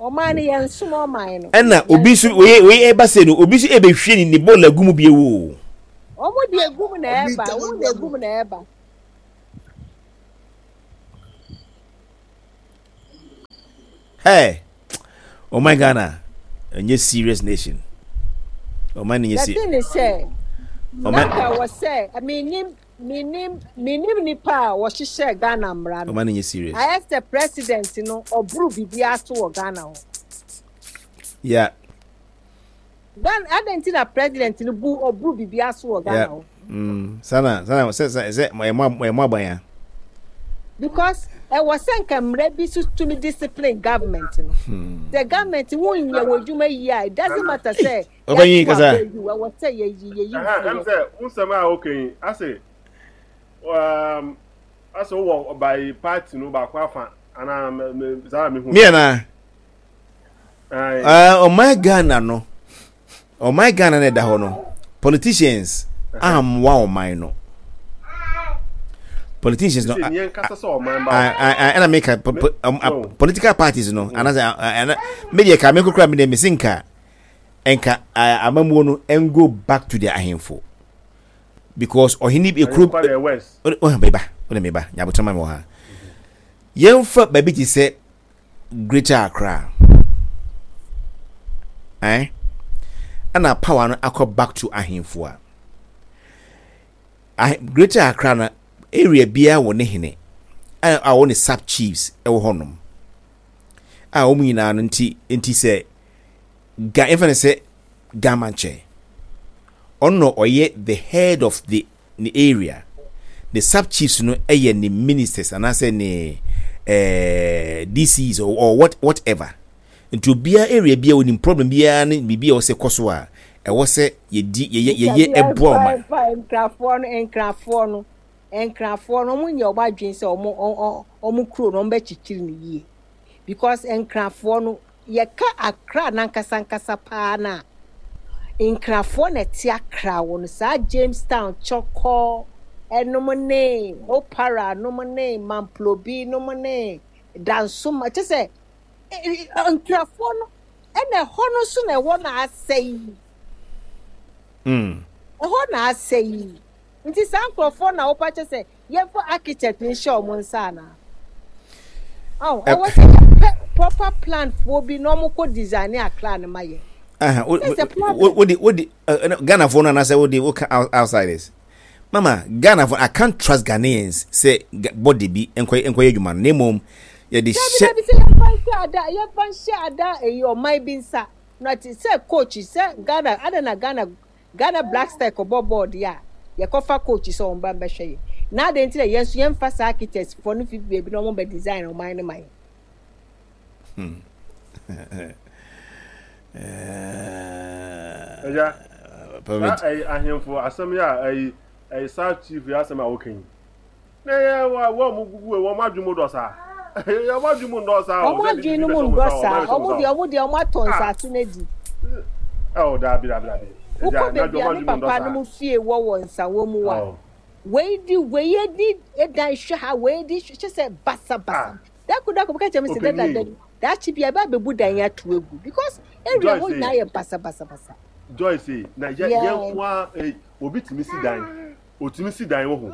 Speaker 3: Ɔman no yɛn som ɔman no.
Speaker 2: Ɛna obi nso wei wei ɛba sɛ no obi nso ɛbɛhwie ne ne bɔɔla gu mu bi ewo.
Speaker 3: Wɔn de egu mu na ɛɛba wɔn de egu mu na ɛɛba.
Speaker 2: Hey, oh my Ghana, ɛnyɛ serious nation. Ɔman no nyɛ
Speaker 3: The
Speaker 2: serious.
Speaker 3: thing is sɛ
Speaker 2: Ɔman
Speaker 3: nanka wɔ sɛ menim menim menim nipa a wɔhyehyɛ Ghana mmara no.
Speaker 2: Ɔman no nyɛ serious.
Speaker 3: Ayɛ sɛ president no ɔboro biribiara so wɔ Ghana hɔ.
Speaker 2: Yeah.
Speaker 3: Ghana adɛn nti na president no bu ɔboro biribiara so wɔ Ghana
Speaker 2: Yeah.
Speaker 3: hɔ?
Speaker 2: Mm. Sana sana sɛ sɛ sɛ ɛmo ɛmo aban ya.
Speaker 3: Because ɛwɔ sɛ nka mmara bi so tumi discipline government no.
Speaker 2: Hmm.
Speaker 3: The government wonyɛ wɔ adwuma yie a, it doesn't matter sɛ
Speaker 2: Ɔbɛnyin
Speaker 3: yɛato
Speaker 2: kasa.
Speaker 3: aba yi ɛwɔ sɛ yɛyi yɛyi
Speaker 4: Ɛhɛn,
Speaker 3: firi
Speaker 4: ɛm
Speaker 3: hɔ.
Speaker 4: sɛ wo nsɛm a woka yi ase um, ase wowɔ by party no baako afa anaa me- me- saa na mehu.
Speaker 2: Me ana
Speaker 4: Aye.
Speaker 2: uh, ɔman Ghana no, ɔman Ghana na ɛda hɔ no, politicians ammoa ɔman no. Politicians no,
Speaker 4: Sɛ neɛ nkasa sɛ ɔman ba
Speaker 2: ɛna meka po- po- um, uh,
Speaker 4: No.
Speaker 2: political parties no, anaasɛ uh, uh, ɛna me deɛ ka me kokora me deɛ mese nka nka uh, amammuo no ɛngo back to the ahemfo because ɔhene ekuro
Speaker 4: Ahemfo deɛ west.
Speaker 2: ɔhɛn meba ɔne meba nyabotɔ ma mi wɔ ha. Yɛmfa baabi te sɛ Greater Accra, ɛn ɛna power no akɔ back to ahemfo a ah, Greater Accra no, area biara wɔ ne hene a a wɔ ne sub chiefs ɛwɔ hɔnom a wɔn nyinaa no. nti nti sɛ ga yɛmfa no sɛ Gamankyɛ, ɔno na ɔyɛ the head of the ne area, the sub chiefs no ɛyɛ ne ministers anaasɛ ne ɛɛ D C Es or, or what whatever. Nti obiara area biara onim problem biara ne biribi a ɛwɔ sɛ kɔ so a ɛwɔ sɛ yɛdi yɛyɛ yɛyɛ ɛboa ɔman.
Speaker 3: Nkrafoɔ no nkrafoɔ no nkrafoɔ no ɔmo nyɛ ɔmo adwene sɛ ɔmo ɔ- ɔmo kuro no ɔmo bɛkyekyere no yie because nkrafoɔ no, yɛka Akra nankasa nkasa paa na nkrafoɔ na ɛte Akra wɔ no, saa Jamestown, Chorkor ɛnom ne Opara nom ne Mamplobi nom ne Dansoma kyɛ sɛ ɛ- ɛ- nkrafoɔ no ɛna ɛhɔ no nso na ɛhɔ na asɛe.
Speaker 2: Mm.
Speaker 3: Ɛhɔ na asɛe yi, nti saa nkurɔfoɔ na wɔpa kyɛ sɛ yɛmfa architect nhyɛ ɔmo nsa anaa ɔn ɛwɔ sɛ yɛpɛ proper plan foɔ bi na ɔmo kɔ design Accra no ma yɛ.
Speaker 2: Aha, wo
Speaker 3: It's a problem.
Speaker 2: wo wo de wo de Ghana foɔ no anaasɛ wo de wo ka outsiders. Mama, Ghana foɔ, I can't trust Ghanaians sɛ body bi nkɔ nkɔyɛ adwuma no na mmom yɛde
Speaker 3: Dabi.
Speaker 2: hyɛ.
Speaker 3: Dabi, sɛ yɛmfa nhyɛ ada yɛmfa nhyɛ ada eyi ɔman bi nsa na te sɛ coach sɛ Ghana ada na Ghana Ghana Black Star kɔbɔ bɔɔl deɛ a, yɛkɔfa coach sɛ ɔmo ba mbɛhwɛ yɛ na adeɛ nti na yɛn nso yɛmfa saa architects foɔ no fi baabi na ɔmo bɛ design ɔman no ma yɛ.
Speaker 4: Ɛgya
Speaker 2: Permit.
Speaker 4: saa ɛyi ahemfo asɛm yi a ɛyi ɛyi saa chief yi asɛm a wɔka yi na ɛyɛ wɔ wɔn mo gugu wɔn mo adwene mu dɔ saa, wɔn adwene mu ndɔ saa o.
Speaker 3: Ɔmo adwene no mu ndɔ saa. Ɔmo deɛ ɔmo deɛ ɔmo atɔ nsase no adi.
Speaker 4: Ɛwɔ daabi, daabi, daabi.
Speaker 3: Wokɔ baabi a me papa no mu fie wɔ wɔ Nsawo mu a, wei di wei edi edan hwɛ ha, wei di hwɛ sɛ basabasa. Dako dako bɛka kyerɛ me sɛ dada da daakye bi a ɛbɛ abɛbu dan yi ato egu because area hɔ nyinaa yɛ basabasabasa.
Speaker 4: Joyce, na yɛ yɛn nko a eh, obi tumi si dan, otumi si dan wɔ ho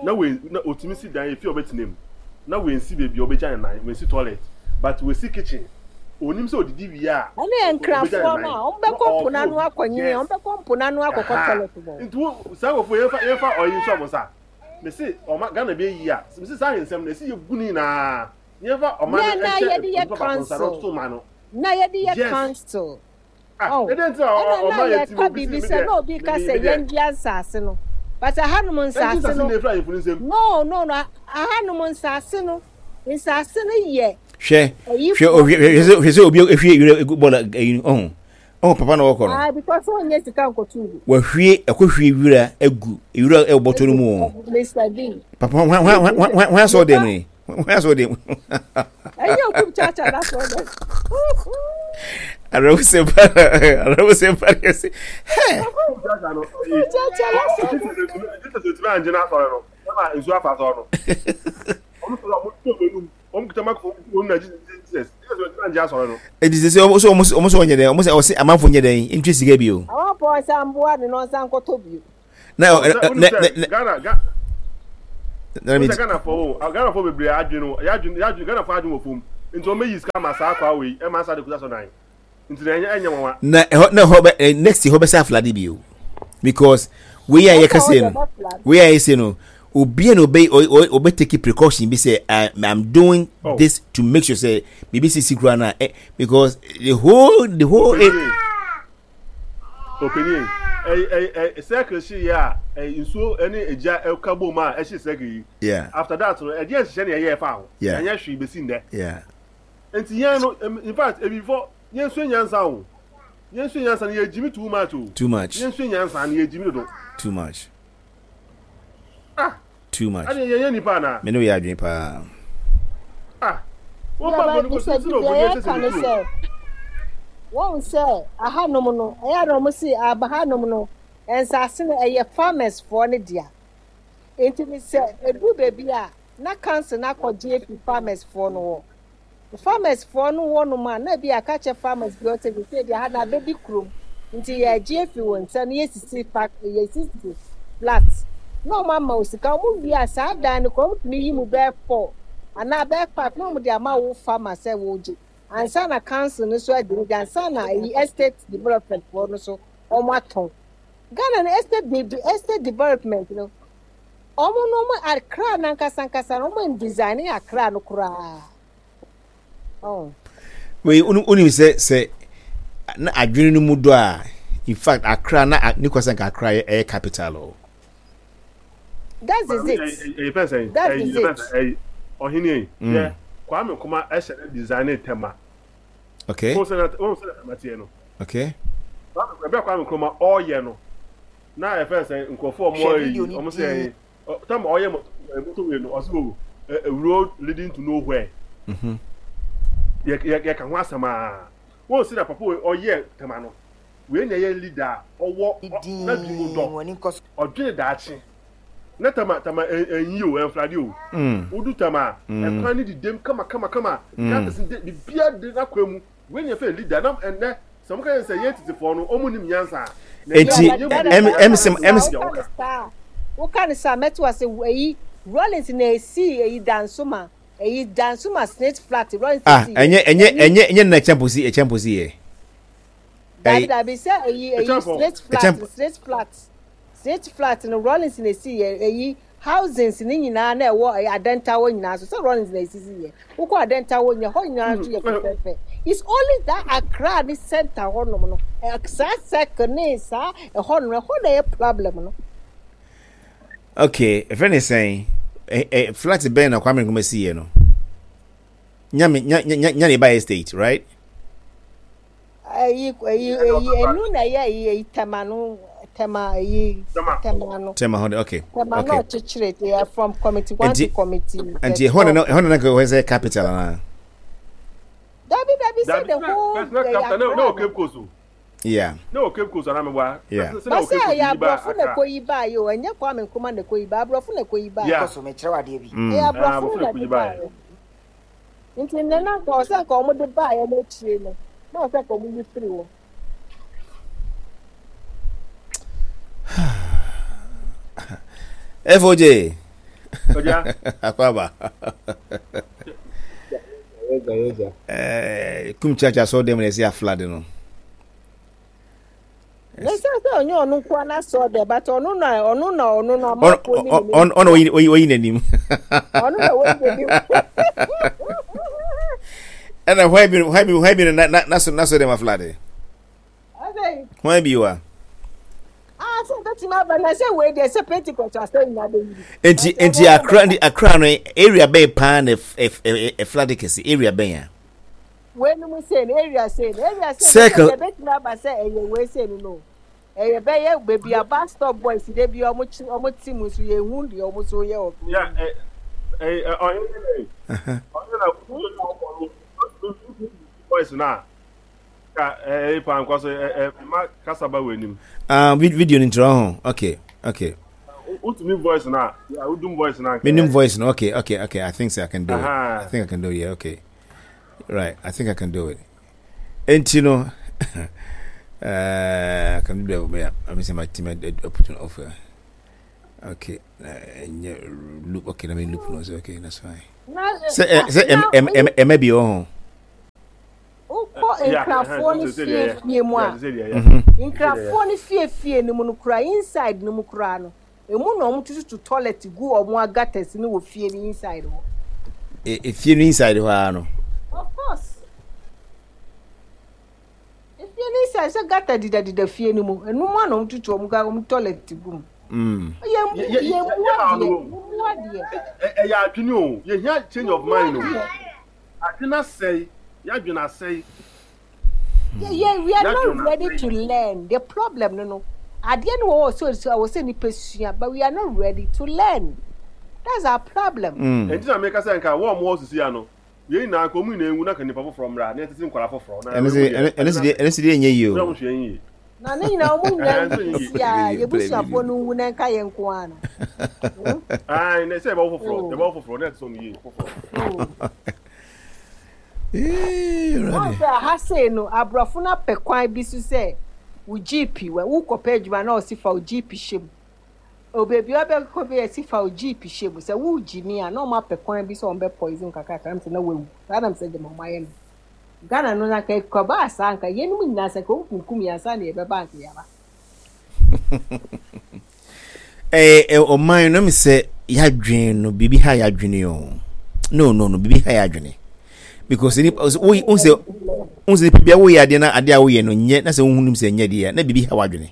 Speaker 4: na wei na otumi si dan efi a ɔbɛtena mu na wensi beebi a ɔbɛgya ne nan, wensi toilet, but wesi kitchen, onim sɛ odidi wie a
Speaker 3: Ɛne yɛ nkrafoɔ no a ɔmo bɛkɔ mpo n'ano akɔnyini, ɔmo bɛkɔ mpo n'ano akɔkɔ toilet bɔ.
Speaker 4: Nti wo saa wofo yɛmfa yɛmfa ɔyi nhyɛ ɔmo nsa. Mesi ɔma Ghana bi eyi a, mesi saa ahensɛm no esi yɛ gu ne nyinaa yɛmfa ɔma no
Speaker 3: Na na
Speaker 4: ɛhyɛ
Speaker 3: yɛde yɛ
Speaker 4: nipa baako nsa na
Speaker 3: council.
Speaker 4: ɔtoto ma no.
Speaker 3: Na yɛde yɛ
Speaker 4: Yes.
Speaker 3: council.
Speaker 4: Ah,
Speaker 3: Oh,
Speaker 4: ɛdɛ nti na
Speaker 3: ɛna
Speaker 4: ɔma
Speaker 3: na
Speaker 4: yɛ ti
Speaker 3: yɛka
Speaker 4: obi si
Speaker 3: biribi
Speaker 4: mi
Speaker 3: sɛ
Speaker 4: deɛ
Speaker 3: na obi ka
Speaker 4: mi
Speaker 3: sɛ
Speaker 4: mi deɛ
Speaker 3: yɛndua nsase no, but ahanom
Speaker 4: ɛnti
Speaker 3: nsase
Speaker 4: nsase
Speaker 3: no
Speaker 4: na efura ahemfo ne nsam.
Speaker 3: no no no ahanom nsase no nsase no yɛ
Speaker 2: Hwɛ hwɛ
Speaker 3: ɛyifoɔ.
Speaker 2: Hwɛ hwɛ sɛ hwɛ sɛ obi ehwie wira egu bɔɔla ɛyi, ɔho ɔho papa na ɔkɔ no.
Speaker 3: Ah, because ɔnyɛ sika nkɔto gu.
Speaker 2: Wahwie ɛkɔhwie wira egu wira ɛwɔ bɔtɔ no mu o.
Speaker 3: Mister D.
Speaker 2: Papa, hwan hwan hwan hwan hwan asɔ dɛm ni, hwan asɔ dɛm?
Speaker 3: Ɛnyɛ okum kyakya na sɔ dɛ.
Speaker 2: Arawusɛ pa, arawusɛ pa yɛ sɛ hɛ.
Speaker 4: Kyakya no ɛyi
Speaker 3: Kyakya na sɔ dɛ.
Speaker 4: Jesus otumi angye n'asɔre no ɛma nsuo afa asɔre no. Ɔmo sɔrɔ, ɔmo tó ɔmo enum, ɔmo kita microphone ɔmo na Jesus, Jesus, Jesus otumi angye asɔre no.
Speaker 2: Eti sɛ sɛ ɔmo sɛ ɔmo ɔmo sɛ ɔnyɛ dɛn, ɔmo sɛ ɔsɛ amanfo nyɛ dɛn ntwi sika bi o.
Speaker 3: Àwọn pɔ ɔnsa mboa ne na ɔnsa nkɔtɔ bio.
Speaker 2: Na
Speaker 4: ɔ
Speaker 2: ɛ
Speaker 4: sɛ
Speaker 2: ɛ
Speaker 4: wonim
Speaker 2: nɛ
Speaker 4: sɛ
Speaker 2: nɛ nɛ
Speaker 4: Ghana Ga
Speaker 2: na mi
Speaker 4: wonim sɛ Ghanafoɔ o, Ghanafoɔ bebree adwene no yɛadwene yɛadwene Ghanafoɔ adwene wɔ fam. Nti wɔn bɛyi sika ma saa akwa wei ɛma asa de kuta so dan. Nti na ɛnyɛ ɛnyɛ nwanwa.
Speaker 2: Na ɛhɔ na ɛhɔ bɛ eh, next year hɔ bɛsɛ aflade bio because wei a yɛka se no wei a yɛse no obi na obe obe take precaution bi sɛ I I'm doing oh. this to make sure sɛ biribi sisi kura na eh, because the whole the whole.
Speaker 4: Ɔpanyin, ɛy ɛy ɛy circle hye yɛ a ɛy nsuo ɛne egya ɛka bom a ɛhye circle yi.
Speaker 2: Yeah.
Speaker 4: After that no ɛdeɛ nhyehyɛ na ɛyɛ ɛfa ho.
Speaker 2: Yeah.
Speaker 4: Ɛnyɛ hwee besi ndɛ.
Speaker 2: Yeah.
Speaker 4: Nti yɛn no in fact ebifɔ yɛn sua nyansa o. Yɛn sua nyansa no yɛ gyimi too much o.
Speaker 2: Too much.
Speaker 4: Yɛn sua nyansa no yɛ gyimi dodo.
Speaker 2: Too much.
Speaker 4: Ah.
Speaker 2: Too much.
Speaker 4: Ɛne yɛn yɛ nipa ana.
Speaker 2: Me ne yɛ adwene paa.
Speaker 4: Ah. Wɔn ba bɔ ne ko sisi na obu ne sisi ne tuo.
Speaker 3: Wɔn sɛ ahanom no ɛyɛ na wɔn si ahanom no nsaase no ɛyɛ farmers foɔ ne dea nti ne sɛ edu beebi a na council na akɔgye efi farmers foɔ no hɔ farmers foɔ no wɔ nom a na bi aka kyɛ farmers bi ɔsɛ sɛ sɛ deɛ ha na abɛdi kurom nti yɛagye efi wɔn nsa no yɛsisi fa yɛsisi flat na wɔn ama wo sika wɔn wie a saa dan no kora wɔn tumi yi mu bɛɛ four anaa bɛɛ five na wɔn de ama wo farmer sɛ wɔgye ansa na council no so adi ne ansa na eyi estate development foɔ no so wɔn atɔn Ghana no estate de estate development no wɔn no wɔn Accra nankasa nkasa no wɔn design Accra no koraa. Oh.
Speaker 2: Wei wonim sɛ sɛ na adwene no mu dɔ a in fact Accra na ne kwasa nka Accra ɛyɛ capital o.
Speaker 3: That is it.
Speaker 4: Ɛyɛ fɛn sɛn.
Speaker 3: That is it.
Speaker 4: Ɔhene yi. Yɛ Kwame Nkrumah ɛhyɛ ne design ne Tema.
Speaker 2: Okay.
Speaker 4: Wɔn sɛ na wɔn sɛ na Tema teɛ no.
Speaker 2: Okay.
Speaker 4: Kwame ɛbɛ Kwame Nkrumah ɔɔyɛ no na ɛfɛn sɛn nkurɔfoɔ ɔmo ɔyɛ yi ɔmo sɛ ɛyɛ tam ɔyɛ motorway no ɔsɛ o road leading to nowhere.
Speaker 2: Mm-hmm.
Speaker 4: Yɛ yɛ yɛ ka ho asɛm aa wɔn si na papa wei ɔyɛ Tema no wei na ɛyɛ leader a ɔwɔ n'adwene mu dɔ ɔdwene daakye na Tema Tema ɛnyi o ɛnflade o wodu Tema ɛkwan ne didem kama kama kama gutters de bibia de n'akwan mu wei na ɛfɛ leader na ɛnɛ sɛ mo ka yɛn sɛ yɛn tetefoɔ no ɔmo nim nyansa.
Speaker 2: Eti ɛm ɛm sɛ ɛm
Speaker 3: sɛ. Woka ne sa mɛto ase eyi Rollins na esi eyi Dansoma eyi Dansoma snake flat Rollins
Speaker 2: ah ɛnyɛ ɛnyɛ ɛnyɛ ɛnyɛ na ɛkyɛn posi ɛkyɛn posi yɛ.
Speaker 3: Dabi dabi sɛ eyi eyi snake flat snake flat snake flat no Rollins na esi yɛ eyi housings ne nyinaa na ɛwɔ Adenta hɔ nyinaa so sɛ Rollins na esisi yɛ wokɔ Adenta hɔ nyɛ hɔ nyinaa nso yɛ fɛfɛɛfɛ. It's only that Accra ne center hɔ nom no saa circle ne saa ɛhɔ nom ɛhɔ na ɛyɛ problem no.
Speaker 2: Okay, ɛfɛ ne sɛn ɛ flat bɛn na Kwame Nkrumah si yɛ no nyame nya nya nya ne ba estate, right?
Speaker 3: Ɛyi ɛyi ɛyi ɛnu na ɛyɛ ɛyi ɛyi Tema no Tema ɛyi Tema no.
Speaker 2: Tema hɔ de okay.
Speaker 3: Tema no ɔkyekyere yɛ from committee one to committee.
Speaker 2: Nti ɛhɔ na ɛhɔ na nka ɛhɔ sɛ capital ana.
Speaker 3: Dabi dabi sɛ the whole
Speaker 4: ɛyɛ Accra no. Cape Coast o.
Speaker 2: Yeah.
Speaker 4: Ne wɔ Cape Coast anaa meboa.
Speaker 2: Yeah.
Speaker 3: Basa ɛyɛ aborɔfo na ɛkɔ yi baa yi o ɛnyɛ Kwame Nkrumah na ɛkɔ yi baa aborɔfo na ɛkɔ yi baa.
Speaker 4: Yeah.
Speaker 5: Kɔ so mekyerɛ wo adeɛ bi.
Speaker 3: Ɛyɛ aborɔfo na ɛde baa yɛ. Nti nnɛ na nka ɔsɛ nka wɔn de baa yɛ n'akyire no na ɔsɛ nka wɔn yi firi hɔ.
Speaker 2: F O J.
Speaker 4: Oja.
Speaker 2: Akwaba. Eh, kum chacha so dem na esi aflade no.
Speaker 3: Ne sɛ sɛ ɔnyɛ ɔno nko ara sɔ dɛ but ɔno na ɔno na ɔno na amanfoɔ
Speaker 2: ni ɔno ɔno oyi oyi oyi n'anim.
Speaker 3: Ɔno na oyi n'anim.
Speaker 2: Ɛna hwan bi hwan bi hwan bi na na na so na so dɛm aflade. Hwan bi wa.
Speaker 3: Ah, sɛ bɛtumi aba na sɛ wei deɛ sɛ Pentecost asɛ nyinaa bɛyiri.
Speaker 2: Nti nti Accra nti Accra no area bɛn paa na ɛflade kɛse area bɛn a.
Speaker 3: Wei no mu sei no area sei no area sei no sɛ bɛtumi aba sɛ ɛyɛ wei sei no no ɛyɛ bɛyɛ baabi a bus stop boys de bi ɔmo kyi ɔmo ti mu so yɛ hu deɛ ɔmo so yɛ wɔ.
Speaker 4: Ya ɛ ɛ ɔyɛ ɔyɛ na boys na ka ɛ pa nkɔ so ɛ ɛ ma kasa ba wɔ anim.
Speaker 2: Ah, video ni ntura ho. Okay, okay.
Speaker 4: Utumi voice na, yeah, udum voice na.
Speaker 2: Minimum voice na. Okay, okay, okay. I think so I can do it. I think I can do it. Yeah, okay. Right, I think I can do it. And you know, uh, I can do that. Yeah, I mean, my team I put an offer. Okay, ɛnyɛ loop. Okay, na me loop no so. Okay, that's fine.
Speaker 3: Sɛ
Speaker 2: sɛ ɛmɛ bi wɔ ho.
Speaker 3: Wokɔ nkrafoɔ no fiefie mu a, nkrafoɔ no fiefie no mu no koraa, inside no mu koraa no, emu na wɔn tututu toilet gu wɔn gutters no wɔ fie no inside hɔ.
Speaker 2: Efie no inside hɔ ara no.
Speaker 3: Of course. Efie no inside sɛ gutter didadida fie no mu, ɛnu mu a na wɔn tutu wɔn wɔn toilet gu mu.
Speaker 2: Mm.
Speaker 3: Yɛ mu yɛ mu adeɛ, mu adeɛ.
Speaker 4: Ɛyɛ adwene o, yɛ hia change of mind o. Adwene asɛe, yɛ adwene asɛe.
Speaker 3: Yeah, yeah, we are not ready to learn. The problem no no. Adeɛ no wɔ so so wɔ sɛ nipa sua, but we are not ready to learn. That's our problem.
Speaker 4: Ɛnti na meka sɛ nka wɔn a wɔwɔ sisi ano, yɛn nyinaa nka wɔn nyinaa nwu na nka nipa foforɔ mmra na yɛtete nkwadaa foforɔ.
Speaker 2: Ɛno sɛ ɛno sɛ ɛno sɛ deɛ ɛnyɛ yie o.
Speaker 4: Wɔn hwɛ yɛn yie.
Speaker 3: Na ne nyinaa wɔn nyinaa nwu sisi a yɛbusuafoɔ no nwu na nka yɛn nko ara no.
Speaker 4: Ayi na sɛ yɛbɛwɔ foforɔ yɛbɛwɔ foforɔ na yɛtete wɔn yie foforɔ.
Speaker 3: Wɔn sɛ aha sei no aborɔfo no apɛ kwan bi so sɛ wo jeep wɔ wokɔpɛ adwuma na ɔsi fa wo jeep hyɛ mu. Obeebi a ɔbɛkɔ bi yɛsi fa wo jeep hyɛ mu sɛ wogyi mi a na ɔmo apɛ kwan bi sɛ ɔmo bɛ poison kakrakra sɛ na wawu saa nam sɛ gyama ɔmo ayɛ no. Ghana no na nka kɔbaa saa nka yɛnum nyinaa sɛ nka ɔmo kunkum yɛn ansa na yɛbɛba nka yɛaba.
Speaker 2: Ɛɛ ɔman no mi sɛ yɛadwene no biribi ha yɛadwene o. No no no biribi ha yɛadwene. Because nipa wo wo sɛ wo sɛ nipa bi a woyɛ adeɛ na adeɛ a woyɛ no nyɛ na sɛ wohu nim sɛ nyɛ deɛ na biribi ha w'adwene.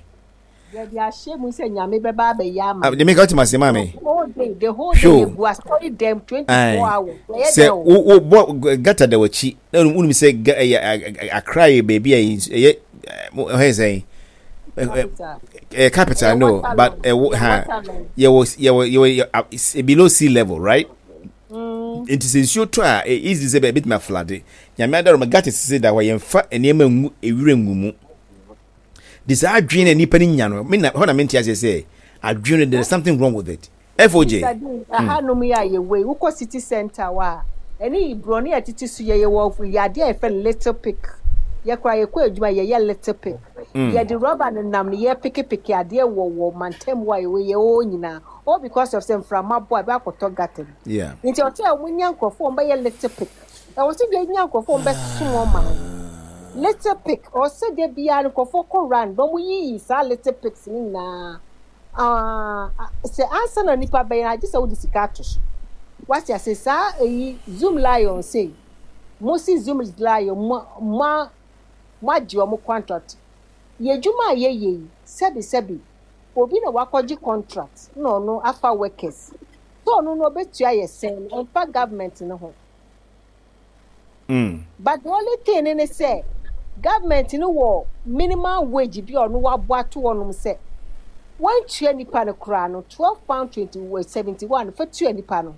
Speaker 3: Yɛde ahyɛ mu sɛ Nyame bɛba abɛyɛ ama.
Speaker 2: Deɛ meka wote ase maa me.
Speaker 3: The whole day, the whole day yɛgu asɔre dɛm twenty four hours.
Speaker 2: Sɛ wo wo bɔ gata da w'akyi na wonim sɛ ɛyɛ Accra yɛ baabi a ɛyɛ ɛhɛ sɛn ɛyɛ capital no but ɛwɔ ha yɛwɔ yɛwɔ yɛwɔ below sea level, right? Nti sɛ nsuo tɔ a, ɛyɛ easy sɛ ɛbɛtumi aflood. Nyame adaroma gutters sisi da hɔ, yɛmfa nneɛma ngu ewira ngu mu. De saa adwene na nipa no nya no, me na hɔ na mente aseɛ sɛ adwene no there is something wrong with it. F O J.
Speaker 3: Ahanom yi a yɛwɔ yi, wokɔ city center hɔ a, ɛne borɔno a ɛtete so yɛ yɛwɔ yadeɛ a yɛfrɛ no litter pick. Yɛkora yɛkɔ adwuma, yɛyɛ litter pick. Yɛde rubber no nam no yɛpekepeke adeɛ wɔ wɔ mantam hɔ a yɛwɔ yɛwɔ nyinaa. All because of sɛ mframa bɔ a ɛbɛ akɔtɔ gutter mu.
Speaker 2: Yeah.
Speaker 3: Nti ɔsɛ a wɔnya nkurɔfoɔ a wɔbɛyɛ litter pick. Ɛwɔ sɛ yɛnya nkurɔfoɔ a wɔbɛsom wɔn ma no. Litter pick, ɔsɛ da biara nkurɔfoɔ kɔ round na wɔyiyi saa litter picks no nyinaa. Ah, sɛ ansa na nipa bɛyɛ no, agye sɛ wode sika ato so. Wate ase saa eyi Zoomlion sei. Mo si Zoomlion mo mo mo agye wɔn contract. Yɛ adwuma a yɛyɛ yi, sɛbi sɛbi, obi na wakɔgye contract na ɔno afa workers. So ɔno no obetua yɛ sɛn no, ɔmfa government no ho.
Speaker 2: Mm.
Speaker 3: But the only thing ne sɛ government no wɔ minimum wage bi a ɔno wabɔ ato hɔnom sɛ wɔntua nipa no koraa no twelve pound twenty seventy one fa tua nipa no.